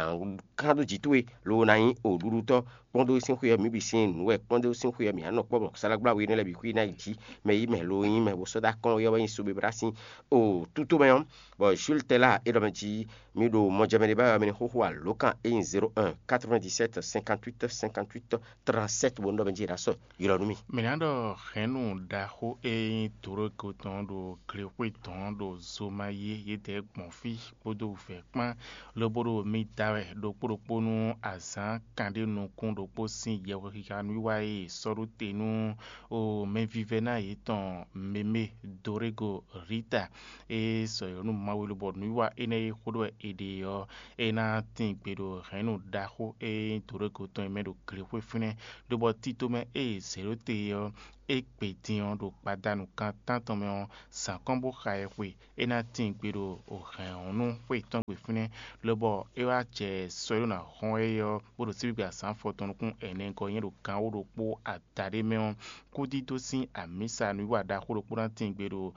kán dó jǐ towe lo ná nyí o ɖuɖutɔ́. Kpɔ́ndéwú sín xwé ɔ́, mǐ bǐ sín nǔ wɛ kpɔ́ndéwú sín xwé ɔ́, mǐ á nɔ kpɔ́ bɔ salágbláwe énɛ́ lɛ́ɛ bǐ xwí ná yi jǐ. Mɛ yí mɛ lo nyí mɛ bo sɔ́ dó akɔ́n ɔ́ wɛ nyí Sobebla sín o tútó mɛ ɔ́, bɔ Jules Tɛla é ɖɔ mɛ jí mi ɖo mɔjɛmɛ ɖé ba wɛ mi ní xóxó alǒkan e nyí zéro un quatre-vingt-dix-sept cinquante-huit cinquante-huit trente-sept bó nú ɖɔ mɛ jí è nǎ sɔ́ yi lɔ nú mì. Mǐ ná ɖɔ hɛ̌nnu ɖaxó e nyí Doroko tɔn ɖo glexwé tɔn ɖo Zomayé yědɛɛ gbɔn fí kpódó vɛ̌ kpán, lobo ɖo mi da wɛ ɖokpó ɖokpó nú azǎn kanɖé nukún ɖo ɖokpó sín yɛhwexixa nǔwiwa e è sɔ́ ɖó te nú o mɛvívɛ́ná yětɔn Meme Dorego Rita. É sɔ́ yɔ̌ nú Mawu lobɔ nǔwiwa énɛ́ e xó ɖɔ wɛ è ɖe ɔ́, é ná tín gbe ɖo hɛ̌nnu ɖaxó e nyí Dorego tɔn e mɛ ɖo glexwé fínɛ́, lobɔ tito mɛ e è zě ɖó te ɔ́, é gbe din ɔ́ ɖo gbadanu kan tántɔn mɛ ɔ́, zǎn kɔn bó xa ɛ xwe. É ná tín gbe ɖo hɛ̌nnu xwé tɔn gbe fínɛ́, lobɔ é wá jɛ sɔ e ɖó ná hɔn ɛ ɔ́, bó ɖo síbígbe azǎn afɔtɔn nukún ɛnɛ gɔ́ nyɛ ɖo gan wó ɖokpó adaɖé mɛ ɔ́, kúdídó sín amǐsa nǔwiwa ɖaxó ɖokpó ná tín gbe ɖo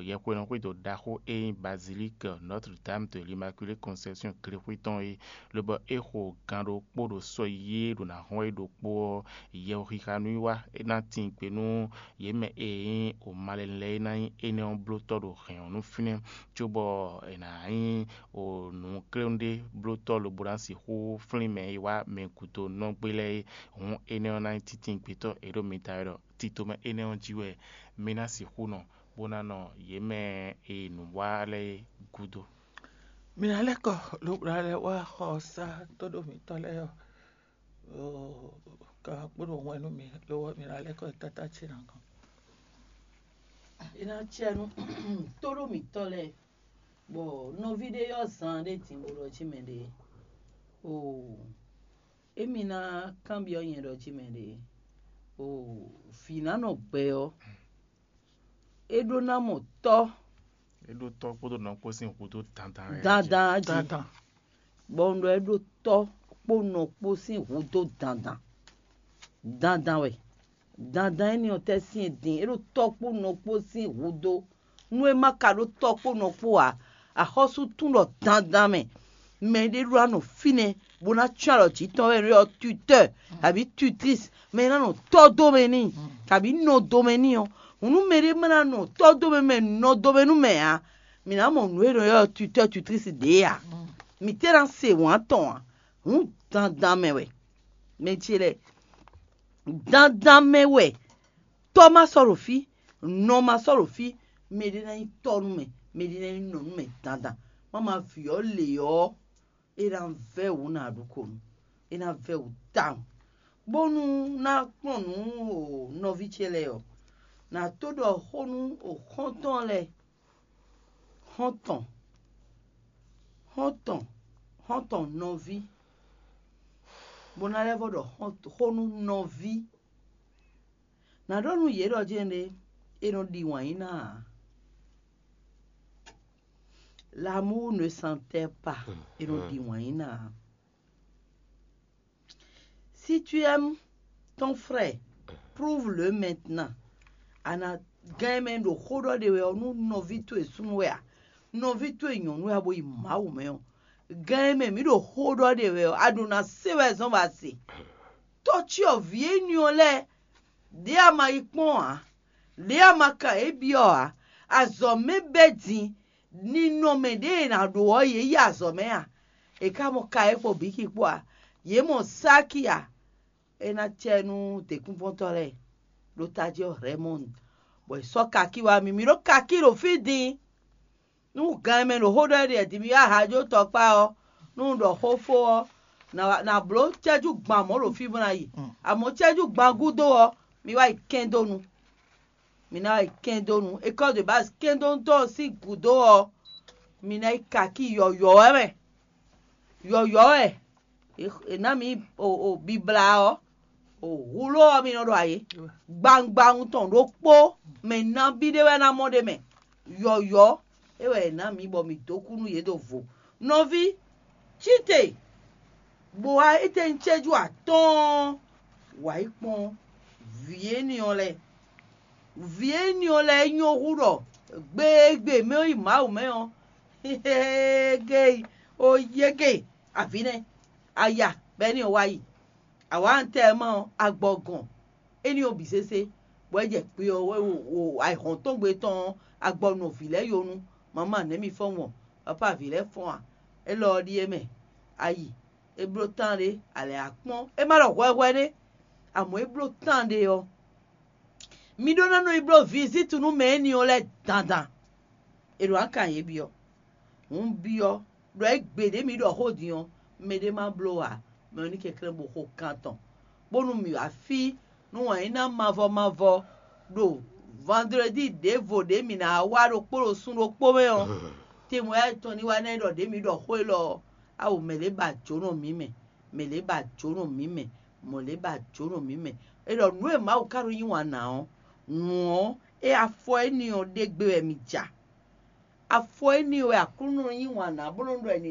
yɛhweɖɔxwédo ɖaxó e nyí Bazilike Notre Dame de l'Immaculée Conception glexwé tɔn é, lobɔ é xo gan ɖokpó ɖo sɔ yí e ɖo ná hɔn é ɖokpó ɔ́, yɛhwexixa nǔwiwa é ná tín gbe nú yě mɛ e nyí o malɛnu lɛ́ɛ é ná nyí énɛ́ ɔ́ blótɔ́ ɖo hɛ̌n ɔ́ nú fínɛ́, cóbɔ è nǎ nyí o nǔkléwún ɖé blótɔ́ lobo ná sixú flín mɛ e wá mɛ gǔdo nɔ́gbé lɛ́ɛ é. Hǔn énɛ́ ɔ́ ná nyí títíngbetɔ́ e ɖo mi ta wɛ ɖɔ tito mɛ énɛ́ ɔ́ jí wɛ mi ná sixú nɔ, bó ná nɔ yě mɛ e nǔ wa lɛ́ɛ é gúdo. Mi ná lɛ́ kɔ lobo ná lɛ́ wá xɔ sá tóɖó mǐtɔn lɛ́ɛ ɔ́, ka kpódó hwɛ̌n nú mi, lo ɔ́, mi ná lɛ́ kɔ yi káká ce ná gɔ́n. É ná cɛ nú tóɖó mǐtɔn lɛ́ɛ, bɔ nɔví ɖé ɔ́ zan ɖé din bó ɖɔ jí mɛ ɖě. Oo, émi ná kanbyɔ́ nyɛ ɖɔ jí mɛ ɖě. Oo, vǐ ná nɔ gbɛ ɔ́, é ɖó ná mɔ tɔ́. É ɖó tɔ́ kpódó nɔ kpó sín hudó dandan wɛ. Dandan jí. Bɔ un ɖɔ é ɖó tɔ́ kpó nɔ kpó sín hudó dandan. Dandan wɛ. Dandan énɛ́ ɔ́ tɛ́ sín e din, é ɖó tɔ́ kpó nɔ kpó sín hudó. Nú é ma ka ɖó tɔ́ kpó nɔ kpó ǎ, axɔ́sú tún ɖɔ dandan mɛ, mɛ ɖé ɖó ná nɔ fínɛ́ bó ná cyɔ́n alɔ jǐ tɔn wɛ, ɔ́ tutɛ́, abǐ tutlísi, mɛ e ná nɔ tɔ́ dó mɛ n'i, kabǐ nɔ dó mɛ n'i ɔ́, hǔn nú mɛɖé ma ná nɔ tɔ́ dó mɛ mɛ nɔ dó mɛ nú mɛ ǎ, mǐ ná mɔ nǔ e nɔ ylɔ́ tutɛ́ tutlísi ɖě ǎ. Mǐ tɛ́ ná se wǎn tɔn ǎ. Hǔn dandan mɛ wɛ. Mɛ ce lɛ́ɛ, dandan mɛ wɛ. Tɔ́ ma sɔ́ ɖo fí, nɔ ma sɔ́ ɖo fí, mɛɖé ná nyí tɔ́ nú mɛ, mɛɖé ná nyí nɔ nú mɛ dandan. Má ma vǐ ɔ́ lě ɔ́, é ná vɛ́ wǔ nǎ ɖu ko nu, é ná vɛ́ wǔ tawun. Bónú ná kplɔ́n nǔ o nɔví ce lɛ́ɛ ɔ́, nǎ tó ɖɔ xó nú o xɔ́ntɔn lɛ́ɛ, xɔ́ntɔn, xɔ́ntɔn, xɔ́ntɔn nɔví, bó ná lɛ́ vɔ ɖɔ xó nú nɔví. Nǎ ɖɔ nú yě ɖɔ jɛ́n ɖé, è nɔ ɖi wǎn yí ná ǎ. L'amour ne s'enterre pas, è nɔ ɖi wǎn yí ná ǎ. Si tu aimes ton frère, prouve-le maintenant. A nǎ gán mɛ ɖo xó ɖɔ ɖe wɛ ɔ́ nú nɔví towe súnnu wɛ a? Nɔví towe nyɔ̌nu wɛ a bo yi Mawu mɛ ɔ́, gán mɛ mǐ ɖo xó ɖɔ ɖe wɛ ɔ́, a ɖo ná se wɛ zɔ́n bɔ a se. Tɔ́ cyɔ vǐ énɛ́ ɔ́ lɛ́ɛ, ɖě a ma yi kpɔ́n ǎ, ɖě a ma ka yě byɔ́ ǎ, azɔ̌ mɛ bɛ́ din, ninɔmɛ ɖě è nǎ ɖó ɔ́, yě yi azɔ̌ mɛ a? È ka mɔ Kayɛ́ kpó Bíki kpó a? Yě mɔ Sáki a? É ná cɛ nú děkúnvɔ́ntɔ́ lɛ́ɛ ɖo tají ɔ́ Rɛmɔ́ni, bɔ è sɔ́ kakí wá mì. Mǐ ɖó kakí ɖo fí din. Nú gan e mɛ ɖo xó ɖɔ é ɖe din, mi wá hajo tɔkpá ɔ́, nú un ɖɔ xó fó ɔ́, nǎ bló cɛ́jú gban mɔ̌ ɖo fí bó ná yi. Amɔ̌ cɛ́jú gban gúdo ɔ́, mi wá yi kɛn dó nu. Mi ná wá yi kɛn dó nu. École de base kɛndóntɔ́ ɔ́ sín gǔdo ɔ́, mi ná yi kakí yɔ̌yɔ́ wɛ mɛ. Yɔ̌yɔ́ wɛ è nǎ mǐ bibla ɔ́, hulo ɔ́ mi nɔ ɖo ayǐ. Gbangban tɔn ɖokpó mɛ nabí ɖé wɛ ná mɔ ɖ'é mɛ. Yɔ̌yɔ́ é wɛ è nǎ mǐ bɔ mǐ dó kú nú yě ɖo vo. Nɔví, cí te, bó wá étɛ́ nyí cɛ́jú atɔ́ɔ́n wǎ yi kpɔ́n vǐ énɛ́ ɔ́ lɛ́ɛ. Vǐ énɛ́ ɔ́ lɛ́ɛ nyɔ́ hú ɖɔ gbe e gbe mɛ ɔ́ yi Mawu mɛ ɔ́, géyi ó yé gé avǐ nɛ́. Aya bɔ ɛ́nɛ́ ɔ́ wá yi. Awǎntɛ́ ɔ́ ma ɔ́, agbɔ gɔn énɛ́ ɔ́ bǐ sésé, bɔ é jɛ kpe ɔ́ wɛ wo ayǐhɔ́ntɔ́ngbe tɔn ɔ́, agbɔ nɔ vǐ lɛ́ɛ yonu. Mama nɛ̌ mi fɔ́n wɔn? Papa vǐ lɛ́ɛ fɔ́n a? Élɔ́ ɔ́ ɖíe mɛ. Ayi, é bló tán ɖé, alɛ akpɔ́n. É má ɖɔ hwɛhwɛ ɖé, amɔ̌ é bló tán ɖé ɔ́, mi ɖó ná nɔ yi bló vizítu nú mɛ énɛ́ ɔ́ lɛ́ɛ dandan. È ɖo akan yě byɔ́. Hǔn byɔ́ ɖɔ é gbe ɖě mi ɖɔ xó din ɔ́, mɛɖé má bló ǎ, mɛ ɔ́ ní kɛnklɛ́n bó xo kan tɔn. bónú mǐ wá fí nú wǎn yí ná mavɔ mavɔ ɖo vandredi ɖěvo ɖě mǐ ná wá ɖokpó ɖo sun ɖokpó mɛ ɔ́, tɛnmɛ yá tɔn ní wá ná ɖɔ ɖě mǐ ɖɔ xó élɔ́ ɔ́, awo mɛ̌ lě ba jǒnɔ mǐ mɛ, mɛ̌ lě ba jǒnɔ mǐ mɛ, mɔ̌ lě ba jǒnɔ mǐ mɛ. É ɖɔ nǔ e Mawu ka ɖo yí wǎn ná ɔ́, wǔn ɔ́, é afɔ énɛ́ ɔ́ ɖé gbe wɛ mǐ ja. Afɔ énɛ́ wɛ Aklúnɔ yí wǎn ná bó nɔ́ ɖɔ è nǐ